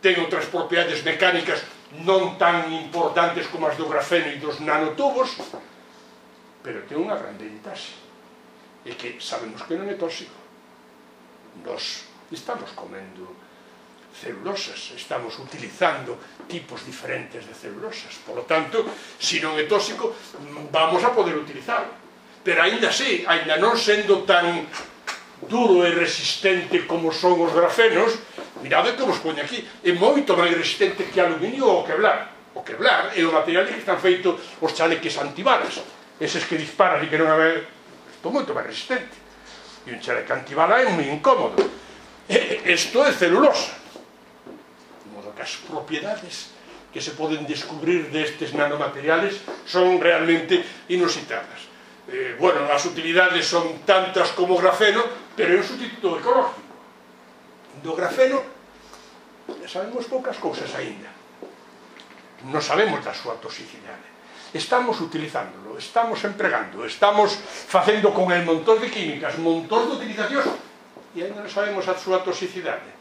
ten outras propiedades mecánicas non tan importantes como as do grafeno e dos nanotubos, pero ten unha gran ventaxe, é que sabemos que non é tóxico. Nos estamos comendo celulosas, estamos utilizando tipos diferentes de celulosas, por lo tanto, se non é tóxico, vamos a poder utilizarlo. Pero aínda así, aínda non sendo tan duro e resistente como son os grafenos, mirade que vos poño aquí, é moito máis resistente que aluminio ou o Kevlar. O Kevlar é o material que están feitos os chaleques antibalas, eses que disparan e que non é... Isto é moito máis resistente. E un chaleque antibala é moi incómodo. Isto é celulosa. De modo que as propiedades que se poden descubrir destes nanomateriales son realmente inusitadas. Bueno, as utilidades son tantas como o grafeno, pero é un sustituto ecológico. Do grafeno sabemos poucas cousas aínda. Non sabemos da súa toxicidade. Estamos utilizándolo, estamos empregando, estamos facendo con el montón de químicas, montón de utilizacións, e aínda non sabemos a súa toxicidade.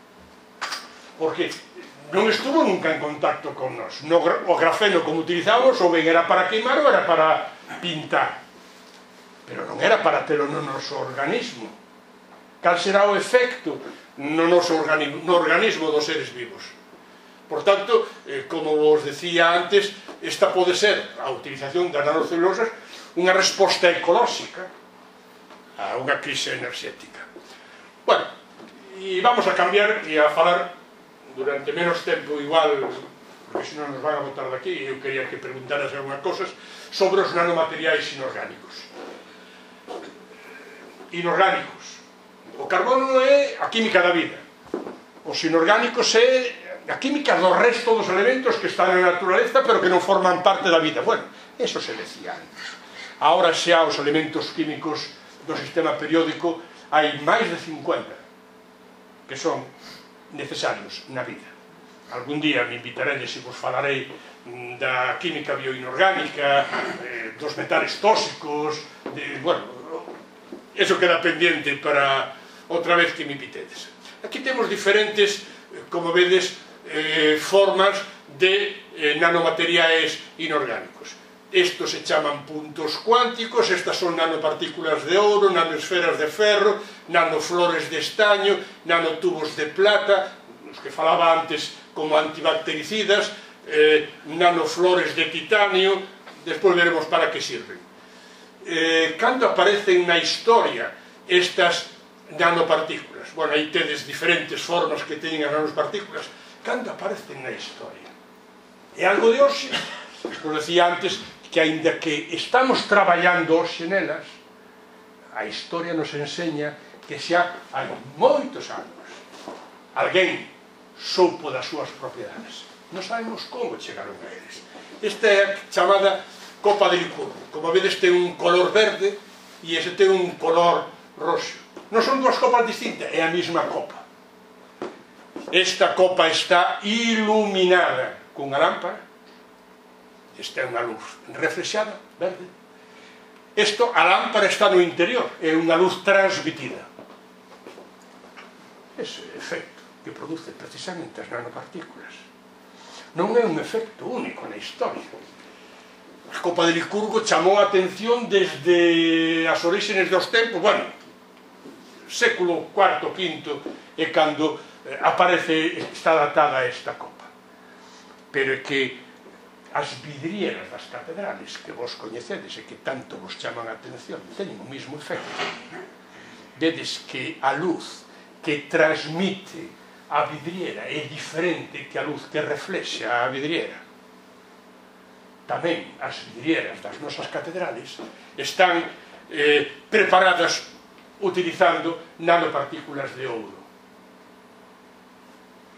Porque non estuvo nunca en contacto con nós. O grafeno, como utilizamos, ou ben era para queimar ou era para pintar. Pero non era para telo no noso organismo. Cal será o efecto no noso organismo dos seres vivos? Por tanto, como vos decía antes, esta pode ser a utilización das nanocelulosas unha resposta ecolóxica a unha crise enerxética. Bueno, e vamos a cambiar e a falar durante menos tempo igual, porque senón nos van a botar daqui, e eu quería que preguntaras algunhas cosas sobre os nanomateriais inorgánicos. Inorgánicos. O carbono é a química da vida. Os inorgánicos é a química do resto dos elementos que están na naturaleza pero que non forman parte da vida. Bueno, eso se decía antes. Ahora xa os elementos químicos do sistema periódico hai máis de 50 que son necesarios na vida. Algún día me invitaredes e vos falarei da química bioinorgánica, dos metales tóxicos, bueno, eso queda pendiente para outra vez que me invitedes. Aquí temos diferentes, como vedes, formas de nanomateriais inorgánicos. Estos se chaman puntos cuánticos, estas son nanopartículas de ouro, nanosferas de ferro, nanoflores de estaño, nanotubos de plata, os que falaba antes como antibactericidas, nanoflores de titanio, despois veremos para que sirven. Cando aparecen na historia estas nanopartículas? Bueno, aí tedes diferentes formas que teñen as nanopartículas. Cando aparecen na historia? É algo de hoxe? Como decía antes, que aínda que estamos traballando hoxe nelas, a historia nos enseña que xa hai moitos anos alguén soupo das súas propiedades. Non sabemos como chegaron a eles. Esta é a chamada copa de Licurgo. Como vedes, ten un color verde e ese ten un color roxo. Non son dúas copas distintas, é a mesma copa. Esta copa está iluminada cunha lámpara. Esta é unha luz reflexada, verde. A lámpara está no interior, é unha luz transmitida. Ese efecto que produce precisamente as nanopartículas non é un efecto único na historia. A copa de Licurgo chamou a atención desde as orígenes dos tempos, bueno, século IV, V, é cando está datada esta copa. Pero é que as vidrieras das catedrales que vos coñecedes e que tanto vos chaman a atención teñen o mesmo efecto. Vedes que a luz que transmite a vidriera é diferente que a luz que reflexa a vidriera. Tamén as vidrieras das nosas catedrales están preparadas utilizando nanopartículas de ouro.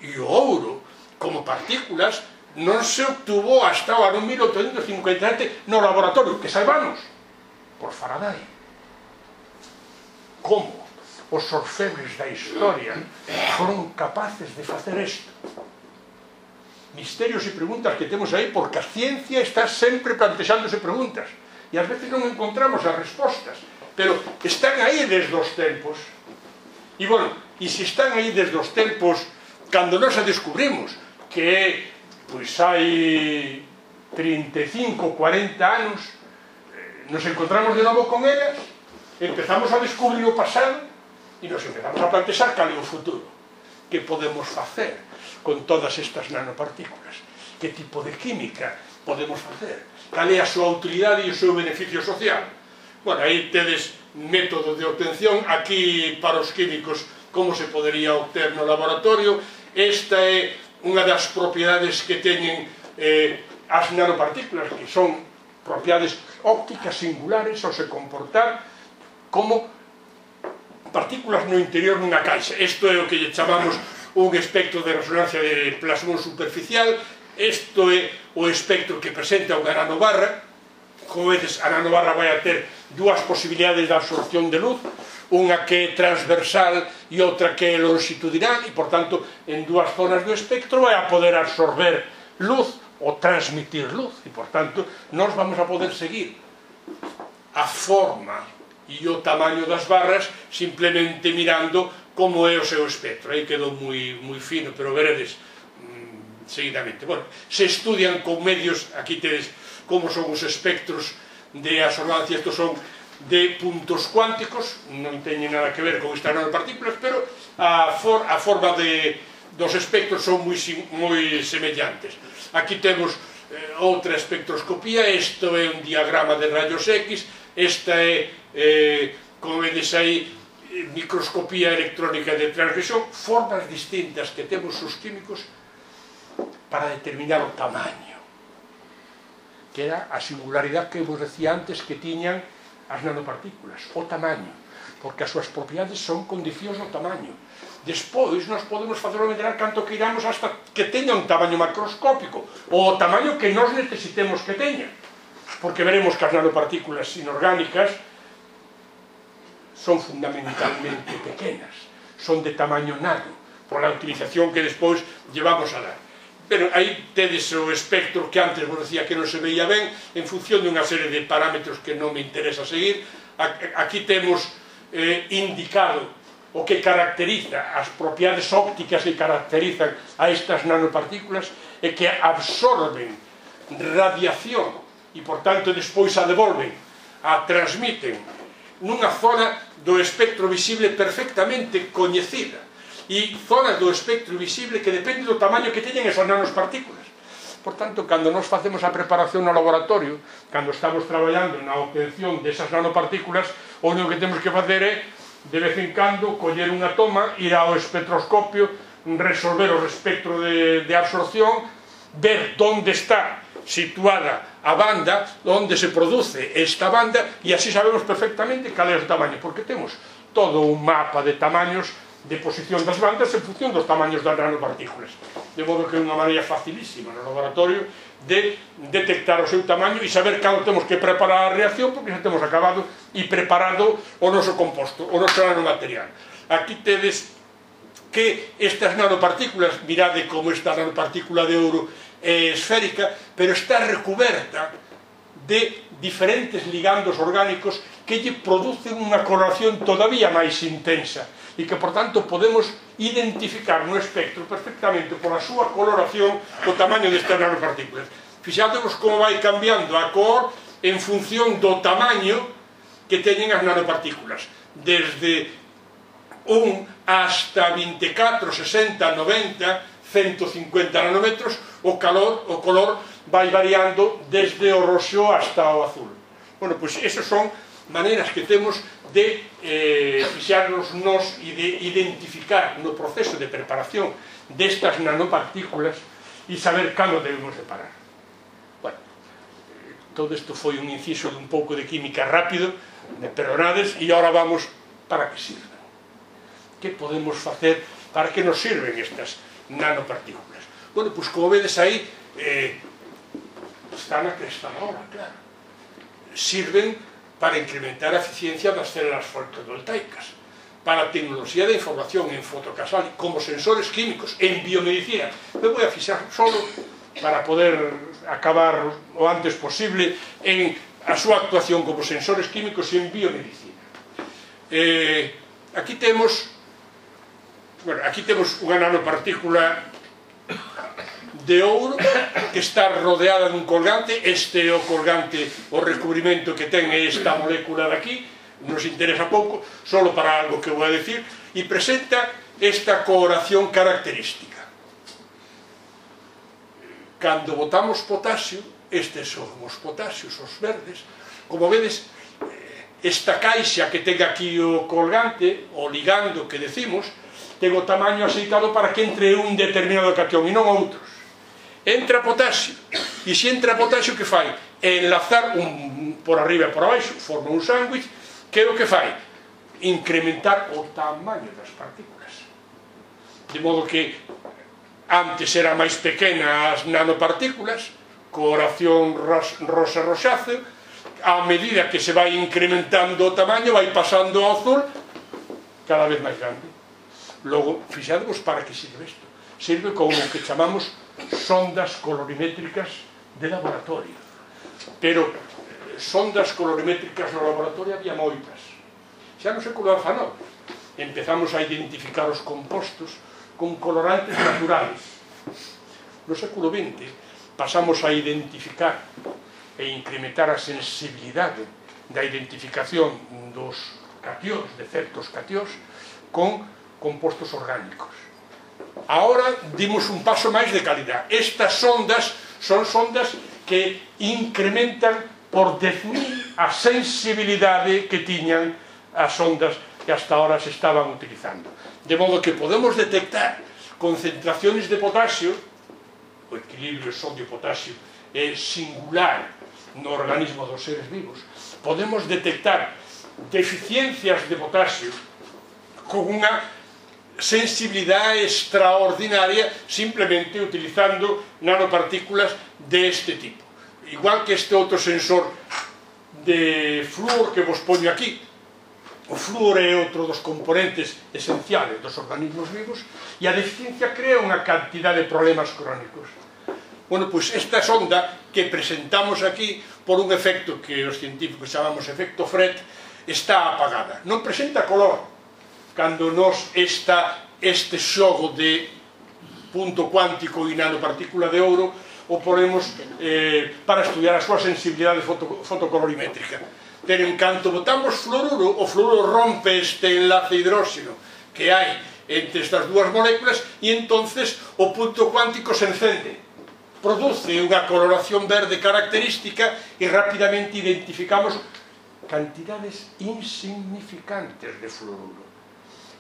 E o ouro, como partículas, non se obtuvo hasta o ano 1857 no laboratorio, que saibamos, por Faraday. Como os orfebres da historia foron capaces de facer isto? Misterios e preguntas que temos aí, porque a ciencia está sempre plantexándose preguntas e ás veces non encontramos as respostas, pero están aí desde os tempos. E bueno, e se están aí desde os tempos cando nos a descubrimos, que é, pois hai 35, 40 anos, nos encontramos de novo con elas, empezamos a descubrir o pasado e nos empezamos a plantexar cal é o futuro. Que podemos facer con todas estas nanopartículas? Que tipo de química podemos facer? Cal é a súa utilidade e o seu beneficio social? Bueno, aí tedes método de obtención, aquí para os químicos como se podería obter no laboratorio. Esta é unha das propiedades que teñen as nanopartículas, que son propiedades ópticas singulares ao se comportar como partículas no interior dunha caixa. Isto é o que lle chamamos un espectro de resonancia de plasmón superficial. Isto é o espectro que presenta unha nanobarra. Como vedes, a nanobarra vai a ter dúas posibilidades de absorción de luz, unha que é transversal e outra que é longitudinal, e, por tanto, en dúas zonas do espectro vai a poder absorber luz ou transmitir luz, e, por tanto, nós vamos a poder seguir a forma e o tamaño das barras simplemente mirando como é o seu espectro. Aí quedou moi fino, pero veredes seguidamente. Bueno, se estudian con medios, aquí tedes como son os espectros de absorbancia. Estos son de puntos cuánticos, non teñen nada que ver con estas nanopartículas, pero a forma dos espectros son moi semellantes. Aquí temos outra espectroscopía. Isto é un diagrama de rayos X. Esta é, como vedes aí, microscopía electrónica de transmisión. Formas distintas que temos os químicos para determinar o tamaño, que era a singularidade que vos decía antes que tiñan as nanopartículas, o tamaño, porque as súas propiedades son condicións do tamaño. Despois nos podemos facelo medrar canto que iramos hasta que teña un tamaño macroscópico, ou o tamaño que nós necesitemos que teña, porque veremos que as nanopartículas inorgánicas son fundamentalmente pequenas, son de tamaño nano, por a utilización que despois llevamos a dar. Pero aí tedes o espectro que antes vos decía que non se veía ben, en función de unha serie de parámetros que non me interesa seguir. Aquí temos indicado o que caracteriza as propiedades ópticas que caracterizan a estas nanopartículas, e que absorben radiación e, por tanto, despois a devolven, a transmiten nunha zona do espectro visible perfectamente coñecida, e zonas do espectro visible que depende do tamaño que teñen esas nanopartículas. Por tanto, cando nos facemos a preparación no laboratorio, cando estamos traballando na obtención desas nanopartículas, o único que temos que facer é, de vez en cando, coller unha toma, ir ao espectroscopio, resolver o espectro de absorción, ver onde está situada a banda, onde se produce esta banda, e así sabemos perfectamente cal é o tamaño, porque temos todo un mapa de tamaños de posición das bandas en función dos tamaños das nanopartículas. De modo que é unha maneira facilísima no laboratorio de detectar o seu tamaño e saber cando temos que preparar a reacción, porque xa temos acabado e preparado o noso composto, o noso nanomaterial. Aquí tedes que estas nanopartículas, mirade como esta nanopartícula de ouro é esférica, pero está recuberta de diferentes ligandos orgánicos que lle producen unha coloración todavía máis intensa, e que, por tanto, podemos identificar no espectro perfectamente pola súa coloración o tamaño destas nanopartículas. Fixádevos como vai cambiando a cor en función do tamaño que teñen as nanopartículas, desde hasta 24, 60, 90, 150 nanómetros, o color vai variando desde o roxo hasta o azul. Bueno, pois esas son maneiras que temos de fixarnos nos e de identificar no proceso de preparación destas nanopartículas e saber cando debemos de parar. Bueno, todo isto foi un inciso de un pouco de química rápido, de perdonades, e agora vamos para que sirven. Que podemos facer, para que nos sirven estas nanopartículas? Bueno, pois como vedes aí, está na cresta da hora, claro. Sirven para incrementar a eficiencia das células fotovoltaicas, para a tecnoloxía de información en fotocasal, como sensores químicos, en biomedicina. Me voy a fixar solo para poder acabar o antes posible en a súa actuación como sensores químicos en biomedicina. Aquí temos unha nanopartícula de ouro que está rodeada dun colgante. Este é o colgante, o recubrimento que ten esta molécula de aquí, nos interesa pouco, solo para algo que vou a decir, e presenta esta coloración característica. Cando botamos potasio, estes son os potasios, os verdes, como vedes, esta caixa que ten aquí o colgante, o ligando que decimos, ten o tamaño aceitado para que entre un determinado catión e non outros. Entra potasio, e se entra potasio, que fai? Enlazar por arriba e por abaixo, forma un sándwich, que é o que fai? Incrementar o tamaño das partículas. De modo que antes era máis pequena as nanopartículas, coloración rosa-rosáceo, a medida que se vai incrementando o tamaño, vai pasando ao azul, cada vez máis grande. Logo, fixadvos para que sirve isto. Sirve como o que chamamos sondas colorimétricas de laboratorio. Pero sondas colorimétricas no laboratorio había moitas. Xa no século XIX empezamos a identificar os compostos con colorantes naturales. No século XX pasamos a identificar e incrementar a sensibilidade da identificación dos catións, de certos catións, con compostos orgánicos. Ahora dimos un paso máis de calidad. Estas sondas son sondas que incrementan por 10.000 a sensibilidade que tiñan as sondas que hasta ahora se estaban utilizando. De modo que podemos detectar concentraciones de potasio, o equilibrio sodio-potasio é singular no organismo dos seres vivos. Podemos detectar deficiencias de potasio con unha sensibilidade extraordinaria simplemente utilizando nanopartículas deste tipo. Igual que este outro sensor de flúor que vos poño aquí. O flúor é outro dos componentes esenciales dos organismos vivos e a deficiencia crea unha cantidad de problemas crónicos. Bueno, pois esta sonda que presentamos aquí por un efecto que os científicos chamamos efecto Fred está apagada. Non presenta color. Cando nos este xogo de punto cuántico e nanopartícula de ouro o ponemos para estudiar a súa sensibilidade fotocolorimétrica. Pero en canto botamos fluoruro, o fluoruro rompe este enlace hidróxeno que hai entre estas dúas moléculas e entonces o punto cuántico se encende, produce unha coloración verde característica e rapidamente identificamos cantidades insignificantes de fluoruro.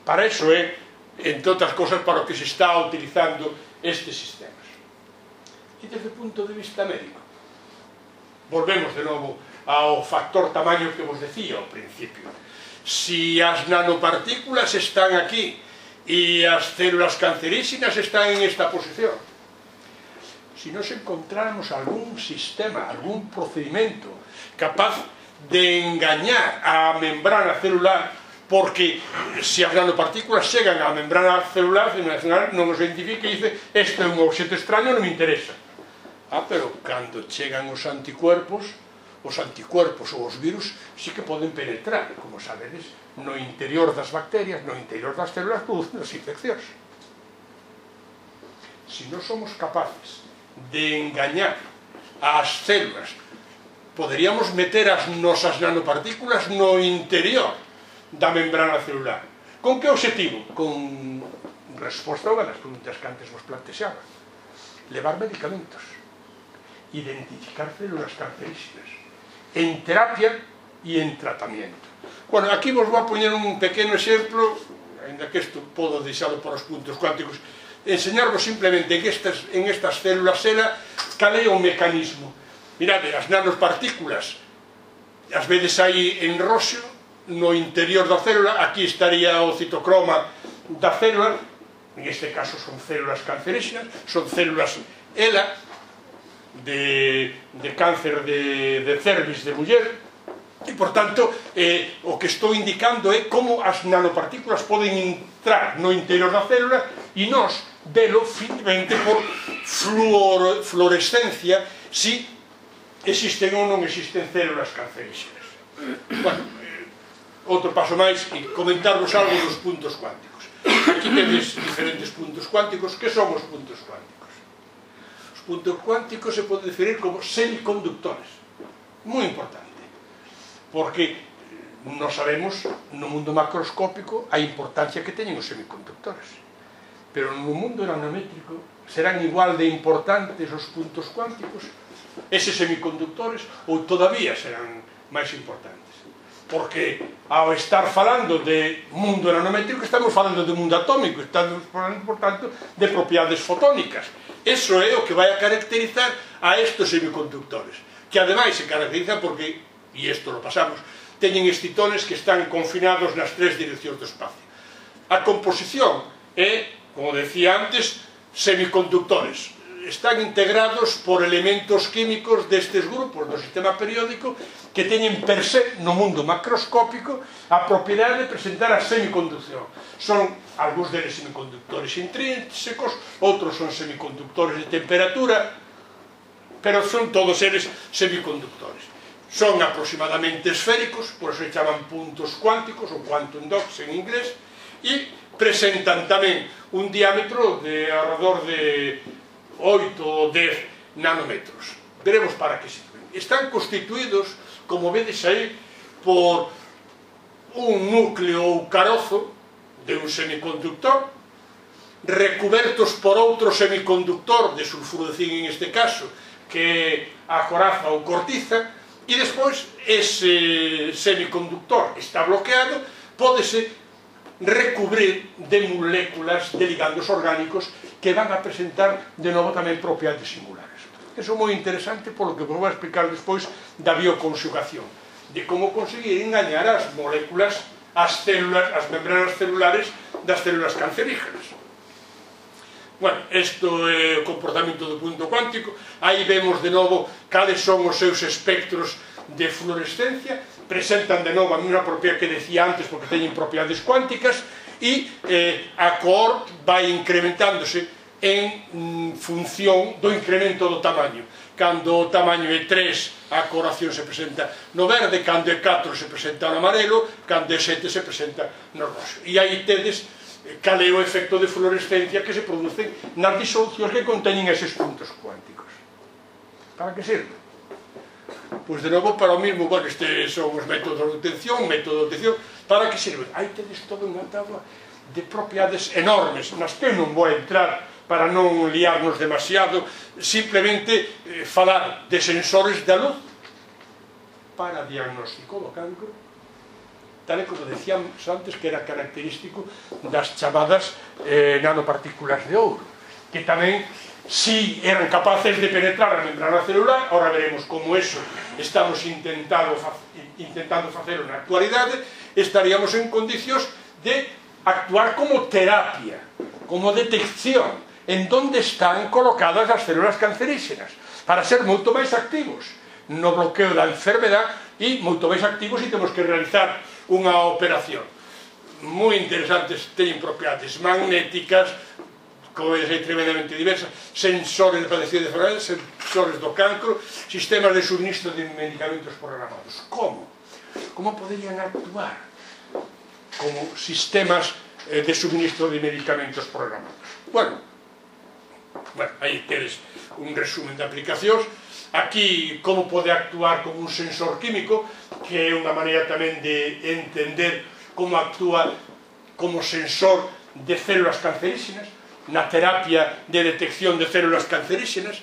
Para eso é, entre outras cosas, para o que se está utilizando estes sistemas. E desde o punto de vista médico, volvemos de novo ao factor tamaño que vos decía ao principio. Si as nanopartículas están aquí e as células cancerígenas están en esta posición, si nos encontráramos algún sistema, algún procedimento capaz de engañar a membrana celular, porque se as nanopartículas chegan á membrana celular non os identifica e dice este é un obxeto extraño, non me interesa. Pero cando chegan os anticuerpos ou os virus sí que poden penetrar, como sabedes, no interior das bacterias, no interior das células, producen as infeccións. Si non somos capaces de engañar ás células, poderíamos meter as nosas nanopartículas no interior da membrana celular. Con que objetivo? Con resposta a unha das preguntas que antes vos plantexaba. Levar medicamentos, identificar células cancerígenas en terapia e en tratamiento. Bueno, aquí vos vou a poñer un pequeno exemplo, ainda que isto podo deixalo por os puntos cuánticos, enseñarvos simplemente en estas células SELA cal é o mecanismo. Mirade, as nanopartículas as vedes aí en roxo no interior da célula, aquí estaría o citocroma da célula, en este caso son células cancerígenas, son células ELA de cáncer de cervix de muller, e por tanto o que estou indicando é como as nanopartículas poden entrar no interior da célula e nós velo finalmente por fluorescencia si existen ou non existen células cancerígenas. Bueno, outro paso máis e comentarvos algo dos puntos cuánticos. Aquí tedes diferentes puntos cuánticos. Que son os puntos cuánticos? Os puntos cuánticos se poden definir como semiconductores. Moi importante, porque non sabemos no mundo macroscópico a importancia que teñen os semiconductores, pero no mundo nanométrico serán igual de importantes os puntos cuánticos, eses semiconductores, ou todavía serán máis importantes, porque ao estar falando de mundo nanométrico estamos falando de mundo atómico, estamos falando, por tanto, de propiedades fotónicas. Eso é o que vai a caracterizar a estes semiconductores, que ademais se caracterizan porque, e isto lo pasamos, teñen excitones que están confinados nas tres direccións do espacio. A composición é, como decía antes, semiconductores. Están integrados por elementos químicos destes grupos do sistema periódico que teñen per se, no mundo macroscópico, a propiedade de presentar a semiconducción. Son algúns deles semiconductores intrínsecos, outros son semiconductores de temperatura, pero son todos eles semiconductores. Son aproximadamente esféricos, por eso se chaman puntos cuánticos, ou quantum dots en inglés, e presentan tamén un diámetro de alrededor de 8 ou 10 nanómetros. Veremos para que sirven. Están constituídos, como vedes aí, por un núcleo ou carozo de un semiconductor, recubertos por outro semiconductor de sulfuro de zinc en este caso, que é a coraza ou cortiza, e despois ese semiconductor está bloqueado, pódese recubrir de moléculas de ligandos orgánicos que van a presentar de novo tamén propiedades singulares. Eso é moi interesante polo que vos vou explicar despois da bioconxugación, de como conseguir engañar as moléculas, as células, as membranas celulares das células cancerígenas. Bueno, isto é o comportamento do punto cuántico. Aí vemos de novo cales son os seus espectros de fluorescencia, presentan de novo a mesma propiedade que decía antes porque teñen propiedades cuánticas, e a cor vai incrementándose en función do incremento do tamaño. Cando o tamaño é 3, a coloración se presenta no verde, cando é 4 se presenta no amarelo, cando é 7 se presenta no roxo. E aí tedes cal é o efecto de fluorescencia que se producen nas disolucións que conteñen eses puntos cuánticos. Para que sirve? Pois de novo para o mismo, bueno, estes son os métodos de obtención, para que sirven? Aí tedes toda unha tabla de propiedades enormes, nas que non vou entrar para non liarnos demasiado, simplemente falar de sensores da luz para diagnóstico do cancro, tal e como decíamos antes que era característico das chamadas nanopartículas de ouro, que tamén, si eran capaces de penetrar a membrana celular, ahora veremos como eso estamos intentando facelo na actualidade, estaríamos en condicións de actuar como terapia, como detección, en donde están colocadas as células cancerígenas, para ser moito máis activos no bloqueo da enfermedade e moito máis activos se temos que realizar unha operación. Moi interesantes, teñen propiedades magnéticas, como é tremendamente diversas, sensores de padecida de enfermedades, sensores do cancro, sistemas de suministro de medicamentos programados. Como? Como poderían actuar como sistemas de suministro de medicamentos programados? Bueno, aí tedes un resumen de aplicacións. Aquí, como pode actuar como un sensor químico, que é unha maneira tamén de entender como actúa como sensor de células cancerígenas, na terapia de detección de células cancerígenas.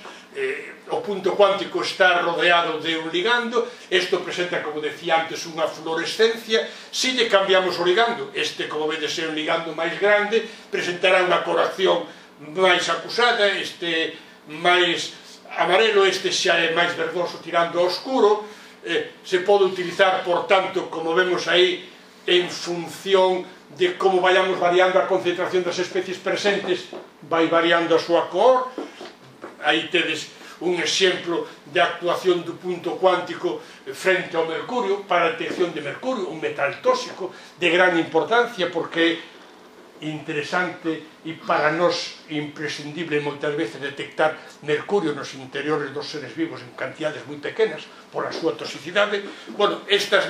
O punto cuántico está rodeado de un ligando, isto presenta, como decía antes, unha fluorescencia. Se lle cambiamos o ligando, este, como vedes, é un ligando máis grande, presentará unha coloración máis acusada, este máis amarelo, este xa é máis verdoso tirando ao oscuro. Se pode utilizar, por tanto, como vemos aí, en función de como vayamos variando a concentración das especies presentes, vai variando a súa cor. Aí tedes un exemplo de actuación do punto cuántico frente ao mercurio, para a detección de mercurio, un metal tóxico de gran importancia, porque é interesante e para nós imprescindible moitas veces detectar mercurio nos interiores dos seres vivos en cantidades moi pequenas pola súa toxicidade. Bueno, estes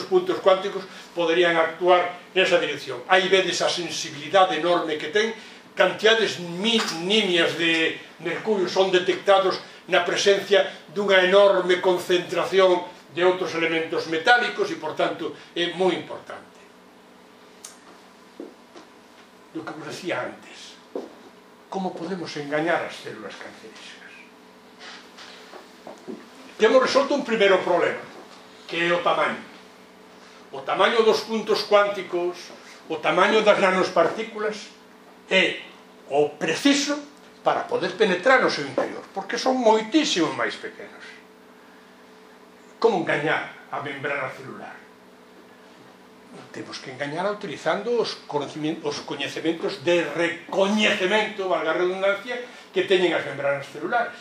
puntos cuánticos poderían actuar nesa dirección. Aí vedes a sensibilidade enorme que ten. Cantidades nimias de mercurio son detectados na presencia dunha enorme concentración de outros elementos metálicos e, por tanto, é moi importante. Do que vos decía antes, como podemos engañar as células cancerígenas? Temos resolto un primeiro problema, que é o tamaño. O tamaño dos puntos cuánticos, o tamaño das nanospartículas, é o preciso para poder penetrar no seu interior, porque son moitísimo máis pequenos. Como engañar a membrana celular? Temos que engañar utilizando os coñecementos de recoñecemento, valga a redundancia, que teñen as membranas celulares.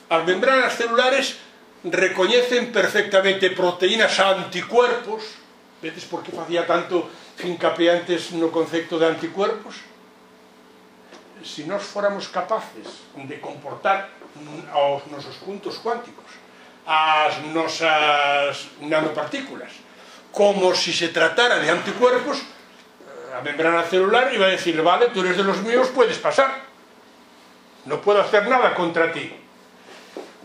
As membranas celulares recoñecen perfectamente proteínas anticuerpos. Vedes por que facía tanto hincapié antes no concepto de anticuerpos? Se nós fóramos capaces de comportar aos nosos puntos cuánticos as nosas nanopartículas como se se tratara de anticuerpos, a membrana celular iba a decir: vale, tú eres de los míos, puedes pasar, no puedo hacer nada contra ti.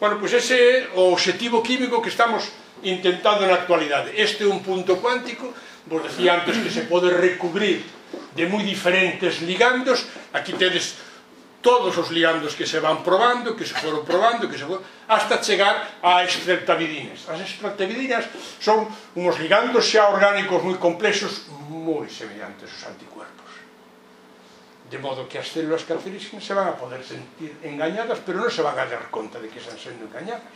Bueno, pois ese é o obxectivo químico que estamos intentando na actualidade. Este é un punto cuántico, vos decía antes que se pode recubrir de moi diferentes ligandos. Aquí tedes todos os ligandos que se van probando, que se foron probando, hasta chegar a extractavidinas. As extractavidinas son uns ligandos xa orgánicos moi complexos, moi semellantes aos anticuerpos. De modo que as células cancerígenas se van a poder sentir engañadas, pero non se van a dar conta de que están sendo engañadas.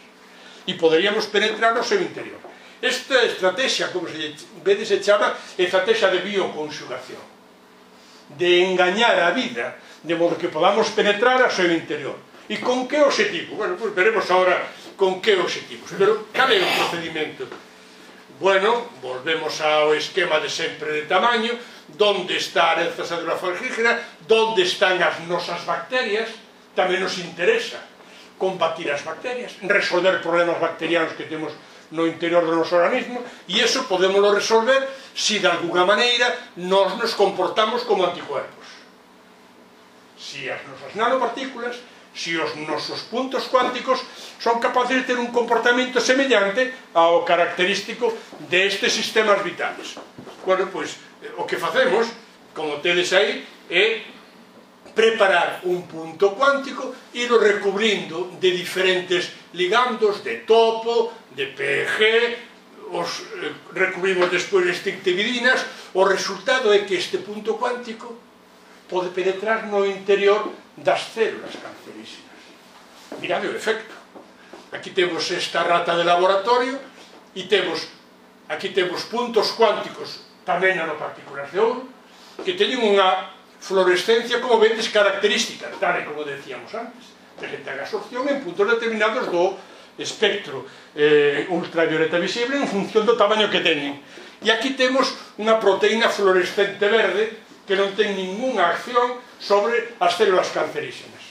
E poderíamos penetrar no seu interior. Esta estrategia, como vedes, se chama estrategia de bioconjugación, de engañar a vida, de modo que podamos penetrar ao seu interior. E con que objetivo? Bueno, pues veremos ahora con que objetivos. Pero, cal é o procedimento? Bueno, volvemos ao esquema de sempre de tamaño, donde está a heranza célula fagígena, donde están as nosas bacterias. Tamén nos interesa combatir as bacterias, resolver problemas bacterianos que temos no interior do noso organismo, e iso podémoslo resolver se de alguna maneira nós nos comportamos como anticuerpos. Se as nosas nanopartículas, se os nosos puntos cuánticos son capaces de ter un comportamento semellante ao característico destes sistemas vitales. Bueno, pois, o que facemos, como tedes aí, é preparar un punto cuántico, ir recubrindo de diferentes ligandos, de topo, de PEG, os recubrimos despois de extractavidinas. O resultado é que este punto cuántico pode penetrar no interior das células cancerígenas. Mirade o efecto. Aquí temos esta rata de laboratorio e aquí temos puntos cuánticos, tamén nanopartículas de ouro, que teñen unha fluorescencia, como vedes, característica, tal e como decíamos antes. Presentan absorción en puntos determinados do espectro ultravioleta visible en función do tamaño que teñen. E aquí temos unha proteína fluorescente verde que non ten ninguna acción sobre as células cancerígenas.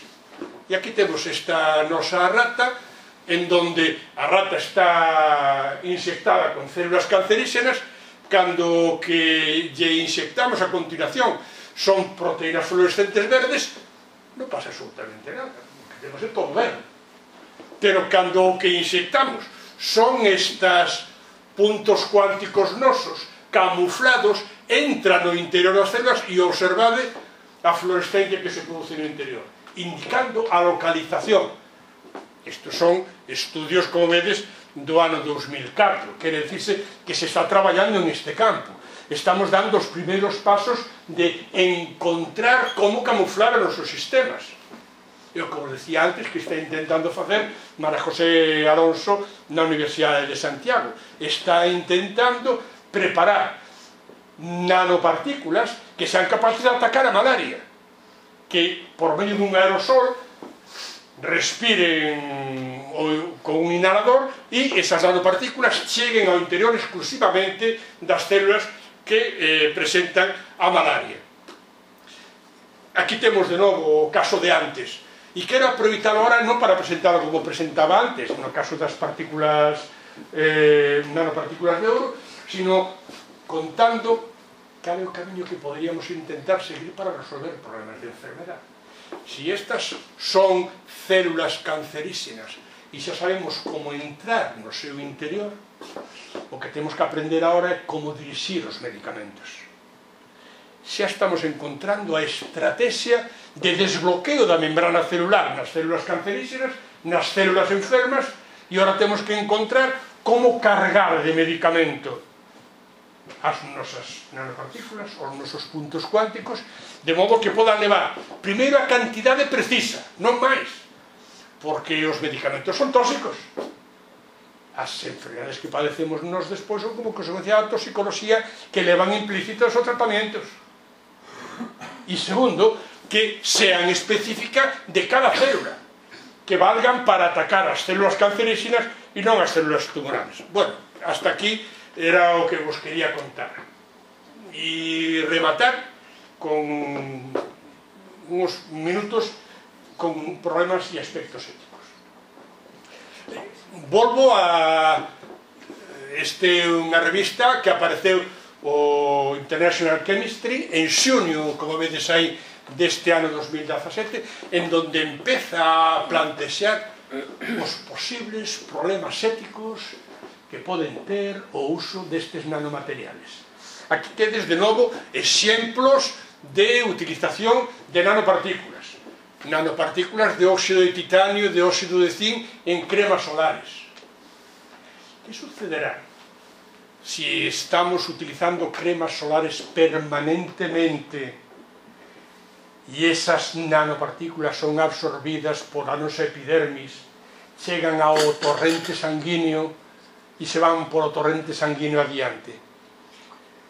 E aquí temos esta nosa rata, en donde a rata está insectada con células cancerígenas. Cando que lle insectamos a continuación son proteínas fluorescentes verdes, non pasa absolutamente nada, porque temos todo verde. Pero cando o que insectamos son estes puntos cuánticos nosos camuflados entra no interior das células e observade a fluorescencia que se produce no interior, indicando a localización. Estes son estudios, como vedes, do ano 2004, quere dicirse que se está traballando neste campo. Estamos dando os primeiros pasos de encontrar como camuflar os nosos sistemas. Eu, como decía antes, que está intentando facer María José Alonso na Universidade de Santiago. Está intentando preparar nanopartículas que sean capaces de atacar a malaria, que por medio dun aerosol respiren con un inhalador e esas nanopartículas cheguen ao interior exclusivamente das células que presentan a malaria. Aquí temos de novo o caso de antes, e quero aproveitar agora non para presentarlo como presentaba antes, no caso das partículas nanopartículas de ouro, sino contando cal é o camiño que poderíamos intentar seguir para resolver problemas de enfermedade. Si estas son células cancerígenas e xa sabemos como entrar no seu interior, o que temos que aprender agora é como dirixir os medicamentos. Xa estamos encontrando a estrategia de desbloqueo da membrana celular nas células cancerígenas, nas células enfermas, e agora temos que encontrar como cargar de medicamento as nosas nanopartículas, os nosos puntos cuánticos, de modo que podan levar primeiro a cantidade precisa, non máis, porque os medicamentos son tóxicos. As enfermedades que padecemos nos despois son como consecuencia da toxicoloxía que levan implícitos os tratamientos. E segundo, que sean específicas de cada célula, que valgan para atacar as células cancerígenas e non as células tumorales. Bueno, hasta aquí era o que vos quería contar. E rematar con uns minutos con problemas e aspectos éticos. Volvo a unha revista que apareceu o International Chemistry en xunio, como vedes aí, deste ano 2017, en donde empeza a plantexar os posibles problemas éticos que poden ter o uso destes nanomateriales. Aquí tedes de novo exemplos de utilización de nanopartículas. Nanopartículas de óxido de titanio, de óxido de zinc en cremas solares. Que sucederá si estamos utilizando cremas solares permanentemente e esas nanopartículas son absorbidas por a nosa epidermis, chegan ao torrente sanguíneo e se van por o torrente sanguíneo adiante?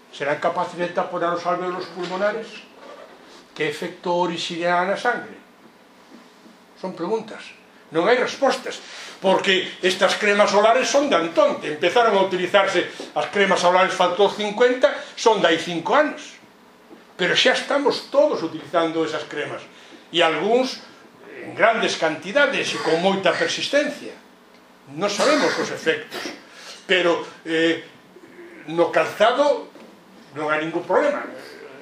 Serán capaces de taponar os alvéolos pulmonares? Que efecto orixinará na sangre? Son preguntas, non hai respostas, porque estas cremas solares son de Antonte. Empezaron a utilizarse as cremas solares faltou 50, son de hai 5 anos, pero xa estamos todos utilizando esas cremas, e algúns en grandes cantidades e con moita persistencia. Non sabemos os efectos, pero no calzado non hai ningún problema.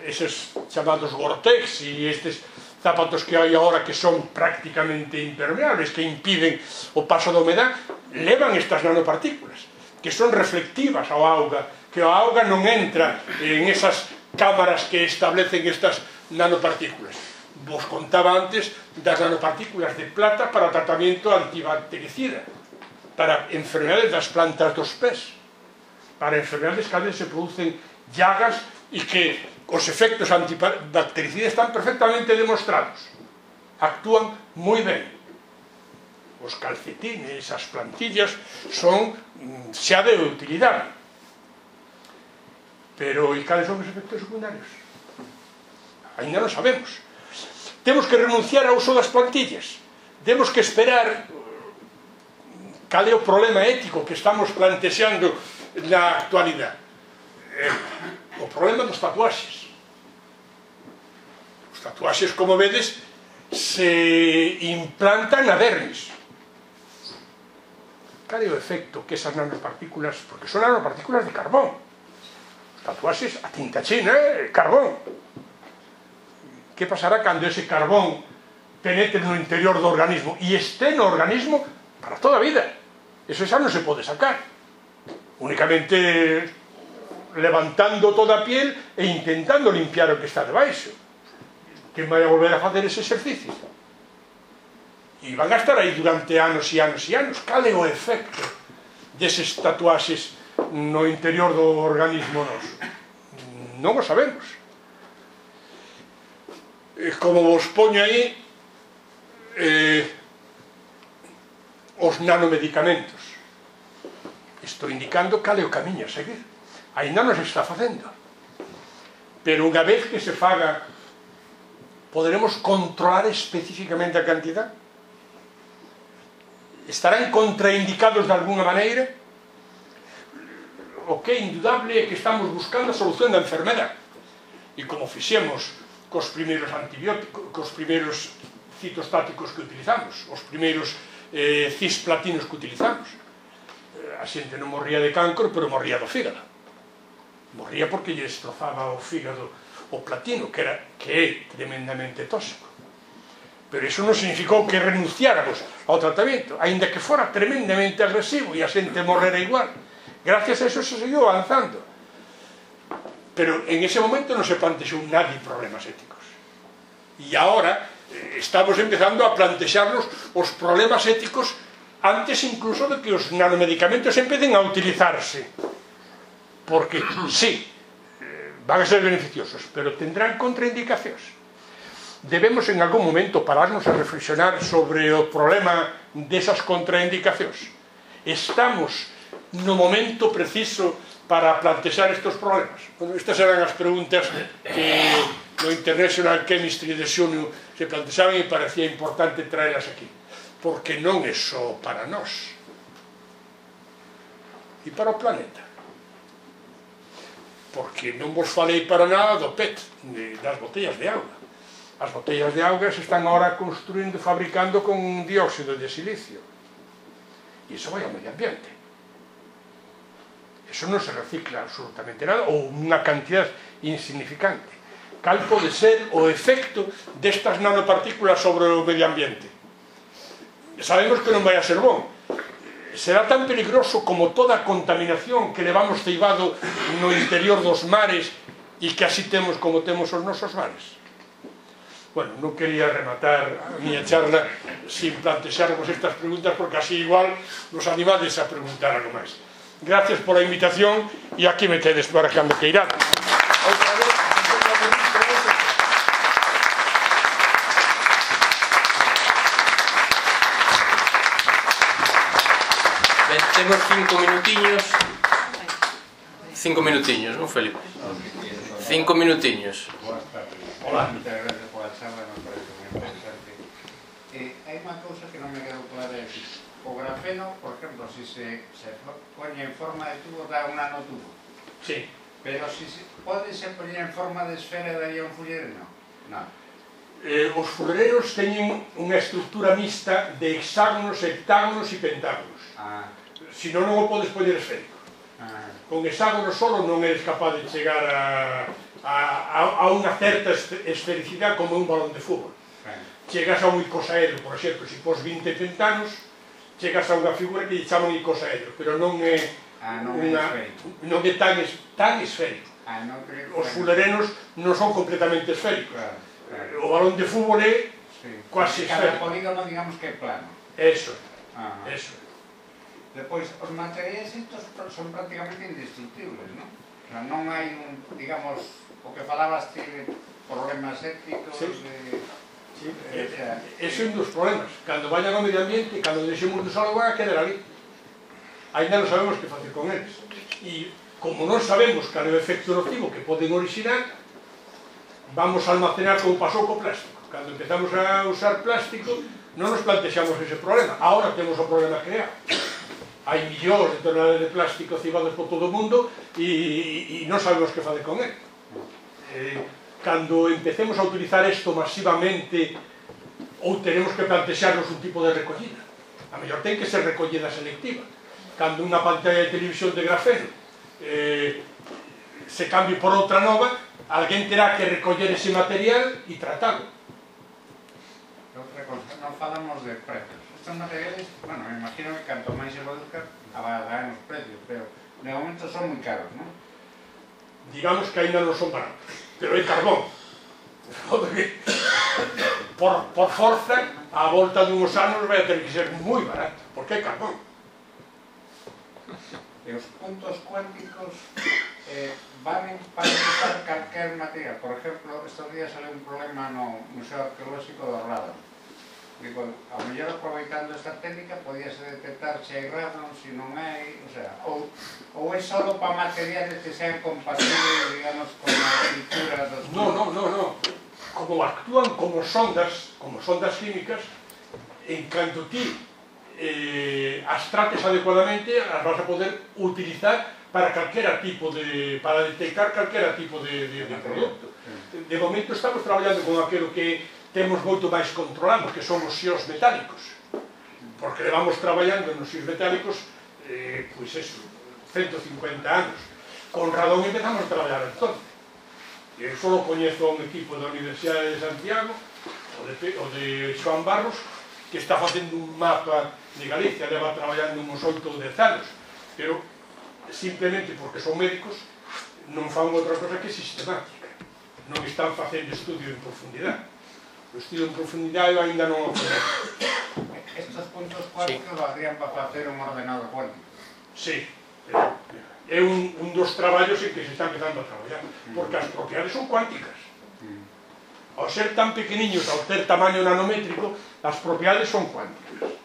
Eses chamados Gore-Tex e estes zapatos que hai agora que son prácticamente impermeables, que impiden o paso da humedad, levan estas nanopartículas, que son reflectivas ao auga, que a auga non entra en esas cámaras que establecen estas nanopartículas. Vos contaba antes das nanopartículas de plata para tratamento antibactericida, para enfermedades das plantas dos pés, para enfermedades que a veces se producen llagas e que os efectos antibactericidas están perfectamente demostrados, actúan moi ben. Os calcetines, as plantillas son xa de utilidade, pero e cales son os efectos secundarios? Ainda non sabemos. Temos que renunciar ao uso das plantillas, temos que esperar. Cal é o problema ético que estamos plantexando na actualidade? O problema dos tatuaxes. Os tatuaxes, como vedes, se implantan na dermis. Cal é o efecto que esas nanopartículas, porque son nanopartículas de carbón. Os tatuaxes, a tinta china é carbón. Que pasará cando ese carbón penetre no interior do organismo e este no organismo para toda a vida? Eso xa non se pode sacar. Únicamente levantando toda a piel e intentando limpiar o que está debaixo. Quen vai a volver a facer ese exercicio? E van a estar aí durante anos e anos e anos. Cal é o efecto deses tatuaxes no interior do organismo noso? Non o sabemos. Como vos poño aí, os nanomedicamentos. Estou indicando cal é o camiño a seguir. Ainda non se está facendo. Pero unha vez que se faga, poderemos controlar especificamente a cantidad? Estarán contraindicados de alguna maneira? O que é indudable é que estamos buscando a solución da enfermedade. E como fixemos cos primeiros antibióticos, cos primeiros citostáticos que utilizamos, os primeiros cisplatinos que utilizamos, a xente non morría de cancro, pero morría do fígado. Morría porque lle destrozaba o fígado o platino, que é tremendamente tóxico. Pero iso non significou que renunciáramos ao tratamento, aínda que fora tremendamente agresivo e a xente morrera igual. Gracias a eso se seguiu avanzando. Pero en ese momento non se plantexou nadie problemas éticos. E agora estamos empezando a plantexarnos os problemas éticos antes incluso de que os nanomedicamentos empecen a utilizarse. Porque, sí, van a ser beneficiosos, pero tendrán contraindicacións. Debemos en algún momento pararnos a reflexionar sobre o problema desas contraindicacións. Estamos no momento preciso para plantexar estes problemas? Bueno, estas eran as preguntas que no International Chemistry de xunio se plantexaban e parecía importante traelas aquí, porque non é só para nós e para o planeta, porque non vos falei para nada do PET, das botellas de auga. As botellas de auga se están agora construindo, fabricando con dióxido de silicio, e iso vai ao medio ambiente. Eso non se recicla absolutamente nada, ou unha cantidad insignificante. Cal pode ser o efecto destas nanopartículas sobre o medio ambiente? Sabemos que non vai a ser bon. Será tan peligroso como toda a contaminación que levamos ceibado no interior dos mares e que así temos como temos os nosos mares. Bueno, non quería rematar a miña charla sin plantexarvos estas preguntas, porque así igual nos animades a preguntar algo máis. Gracias por a invitación e aquí me tedes para cando queirades. Outra vez, ben, temos 5 minutiños. 5 minutiños, non, Felipe? 5 minutiños. Hola. Muchas gracias por la charla, me parece muy interesante. Hay una cosa que no me quedó clara de decir. O grafeno, por ejemplo, si se pone en forma de tubo, da un nanotubo. Sí. Pero si pode se poñer en forma de esfera, daría un fullereno? Non. Os fullereros teñen unha estructura mixta de hexágonos, heptágonos e pentágonos. Si non o podes poñer esférico. Con hexágonos solo non eres capaz de chegar a unha certa esfericidade como un balón de fútbol. Chegas a un icosaedro, por exemplo, se pos 20 pentanos, chegas a unha figura que lle chaman icosaedro, pero non é tan esférico. Os fullerenos non son completamente esféricos. O balón de fútbol é quase esférico. Cada polígono, digamos que é plano. Eso. Depois, os materiais estos son prácticamente indestructibles, non? O sea, non hai un, digamos, o que falabas de problemas éticos, Sí, ese é un dos problemas. Cando vayan ao medio ambiente, cando deixemos de usar, van a quedar ali. Ainda non sabemos que facer con eles. E como non sabemos cal é o efecto nocivo que poden orixinar, vamos a almacenar como pasou co plástico. Cando empezamos a usar plástico, non nos plantexamos ese problema. Ahora temos o problema creado. Hai millóns de toneladas de plástico cibados por todo o mundo e non sabemos que facer con ele. Cando empecemos a utilizar isto masivamente, ou tenemos que plantexarnos un tipo de recollida. A mellor ten que ser recollida selectiva. Cando unha pantalla de televisión de grafeno se cambie por outra nova, alguén terá que recoller ese material e tratalo. Outra cosa, non falamos de precios. Estos materiales, bueno, me imagino que canto máis se produzcan, abaixarán os precios, pero de momento son moi caros, non? digamos que ainda non son baratos, pero é carbón. Por forza, a volta dunhos anos vai ter que ser moi barato, porque é carbón. E os puntos cuánticos van para usar calquer material. Por exemplo, estes días sale un problema no Museo Arqueolóxico do Radon. Digo, ao mellor aproveitando esta técnica podíase detectar se hai radon, se non hai, o sea, ou é só para materiales que sean compatibles, digamos, con a cultura dos... No. Como actúan como sondas químicas, en canto ti as trates adecuadamente, as vas a poder utilizar para calquera tipo de... para detectar calquera tipo de produto. De momento estamos traballando con aquilo que temos moito máis controlado, que son os xios metálicos, porque levamos traballando nos xios metálicos pois eso, 150 anos. Con radón empezamos a traballar entonces. Eu só coñezo un equipo da Universidade de Santiago, o de Xoán Barros, que está facendo un mapa de Galicia, leva traballando uns 8 ou 10 anos, pero simplemente porque son médicos non fan outra cosa que sistemática, non están facendo estudio en profundidade. O estudio en profundidade ainda non o coñezo. Estos puntos cuánticos valdrían para facer un ordenador cuántico. Sí, é un dos traballos en que se está empezando a traballar, porque as propiedades son cuánticas. Ao ser tan pequeniños, ao ter tamaño nanométrico, as propiedades son cuánticas.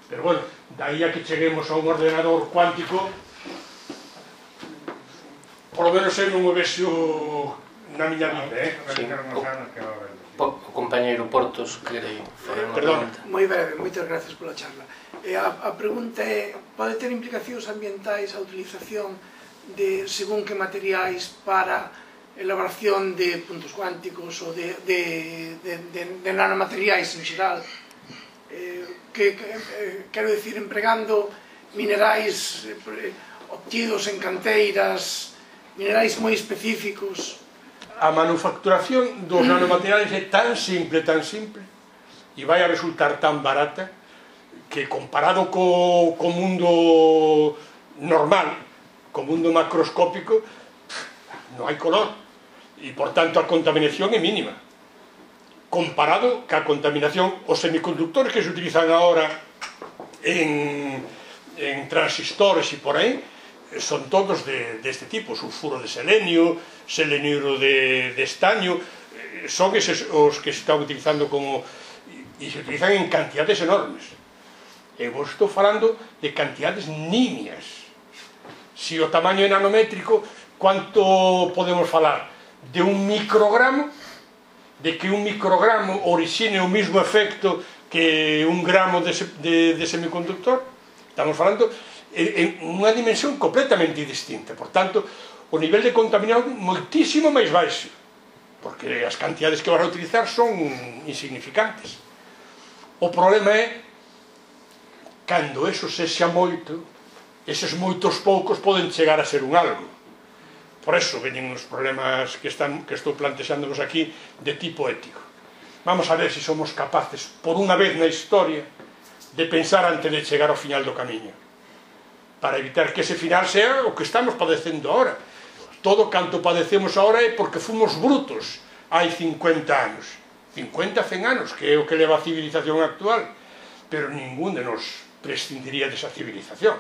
Pero bueno, daí a que cheguemos a un ordenador cuántico, por lo menos eu non o vexo na miña vida, Sí, o compañeiro Portos quere fazer unha pregunta. Moi breve, moitas gracias pola charla. A pregunta é, pode ter implicacións ambientais a utilización de según que materiais para elaboración de puntos cuánticos ou de nanomateriais en xeral? Quero dicir, empregando minerais obtidos en canteiras, minerais moi específicos. A manufacturación dos nanomateriais é tan simple, e vai a resultar tan barata, que comparado co mundo normal, co mundo macroscópico, non hai color, e por tanto a contaminación é mínima. Comparado ca contaminación, os semiconductores que se utilizan agora en transistores e por aí, son todos deste tipo, sulfuro de selenio, seleniuro de estaño, son eses os que se están utilizando como... e se utilizan en cantidades enormes. E vos estou falando de cantidades nimias. Se o tamaño é nanométrico, quanto podemos falar? De un microgramo? De que un microgramo orixine o mesmo efecto que un gramo de semiconductor? Estamos falando en unha dimensión completamente distinta. Por tanto, o nivel de contaminación moitísimo máis baixo, porque as cantidades que vas a utilizar son insignificantes. O problema é cando eso sexa moito, eses moitos poucos poden chegar a ser un algo. Por eso veñen os problemas que estou plantexándonos aquí de tipo ético. Vamos a ver se somos capaces, por unha vez na historia, de pensar antes de chegar ao final do camiño, para evitar que ese final sea o que estamos padecendo ahora. Todo canto padecemos ahora é porque fomos brutos hai 50 anos. 50, 100 anos, que é o que leva a civilización actual. Pero ningún de nos prescindiría desa civilización.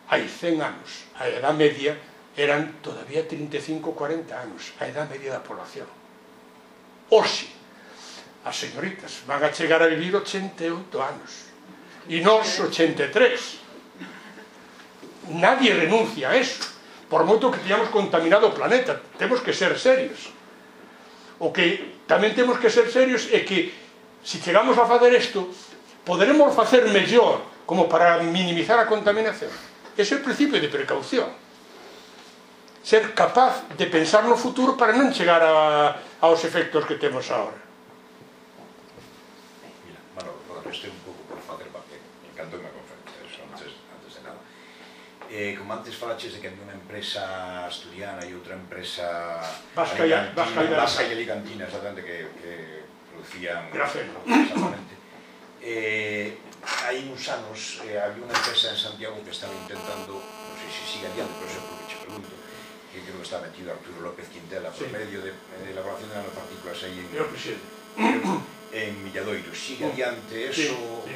Hai 100 anos, a edad media eran todavía 35, 40 anos, a edad media da población. Hoxe, as señoritas van a chegar a vivir 88 anos, e nós 83. Nadie renuncia a eso, por moito que teñamos contaminado o planeta. Temos que ser serios. O que tamén temos que ser serios é que, se chegamos a facer isto, poderemos facer mellor como para minimizar a contaminación. Ese é o principio de precaución. Ser capaz de pensar no futuro para non chegar aos efectos que temos agora. Mira, Manolo, protestei un pouco por facer papel. Me encantou unha conferencia, eso, antes de nada. Como antes falaches de que había unha empresa asturiana e outra empresa vasca e alicantina, exactamente, que producían grafeno. Exactamente. Hai uns anos había unha empresa en Santiago que estaba intentando, non sei se sigue adiante, pero sempre que che pregunto, que creo que está metido Arturo López Quintela por medio de elaboración de nanopartículas aí en Milladoiro. Sigue adiante, eso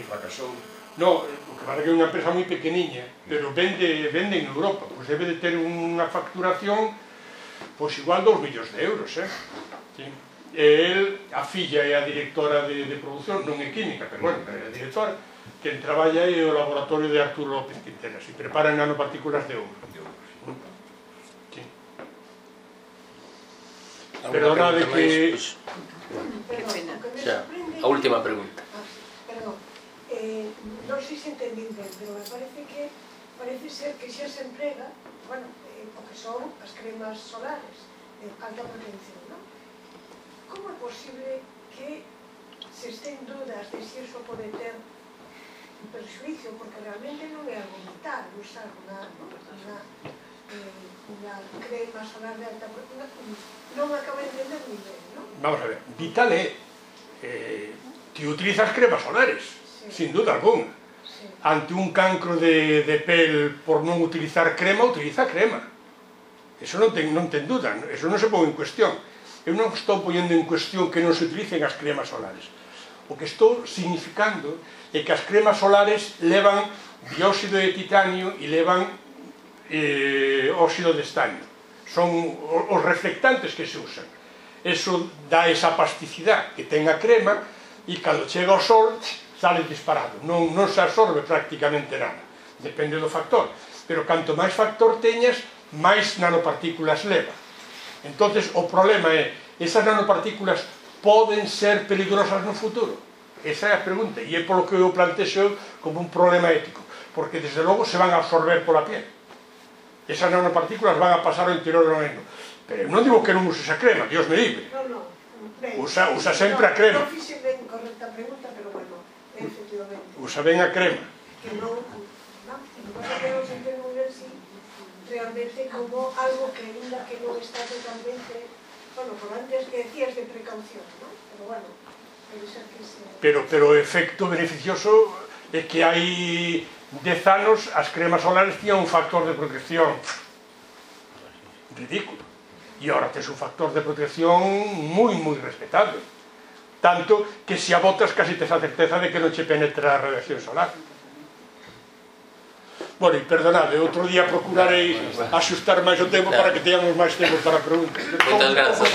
fracasou? No, o que pasa que é unha empresa moi pequeniña, pero vende en Europa, pois debe de ter unha facturación pois igual 2 millóns de euros, sí. A filla é a directora de produción, non é química, pero bueno, é a directora, quen traballa é o laboratorio de Arturo López Quintela, e preparan nanopartículas de ouro. Sí. Perdonade que... A última pregunta. Perdón, non sei se entendín ben, pero me parece ser que xa se emprega, bueno, o que son as cremas solares de alta protección, non? Como é posible que se estén dudas de se iso pode ter un perjuicio, porque realmente non é algo vital usar unha crema solar de alta protección, non me acabo de entender moi ben, non? Vamos a ver, vital é que utilizas cremas solares, sin duda alguna. Ante un cancro de pel por non utilizar crema, utiliza crema. Eso non ten duda, eso non se pon en cuestión. Eu non estou poñendo en cuestión que non se utilicen as cremas solares. O que estou significando é que as cremas solares levan dióxido de titanio e levan óxido de estanio. Son os reflectantes que se usan. Eso dá esa plasticidade que ten a crema e cando chega ao sol sale disparado, non se absorbe prácticamente nada, depende do factor, pero canto máis factor teñas, máis nanopartículas leva. Entonces o problema é, esas nanopartículas poden ser peligrosas no futuro? Esa é a pregunta, e é polo que eu plantexo como un problema ético, porque desde logo se van a absorber pola piel. Esas nanopartículas van a pasar ao interior do organismo, pero non digo que non uses a crema, Dios me libre. Usa sempre a crema. Non fixe ben correcta pregunta, pero bueno, efectivamente. Usa ben a crema. Que non se entende moi ben si realmente como algo que ainda que non está totalmente, bueno, por antes que decías de precaución, non? Pero bueno, pode ser que se... Pero o efecto beneficioso é que hai 10 anos as cremas solares tiñan un factor de protección ridículo. E agora tes un factor de protección moi respetable. Tanto que se a botas casi tes a certeza de que non che penetra a radiación solar. Bueno, e perdonade, outro día procurarei axustar máis o tempo para que teñamos máis tempo para preguntas. Moitas grazas.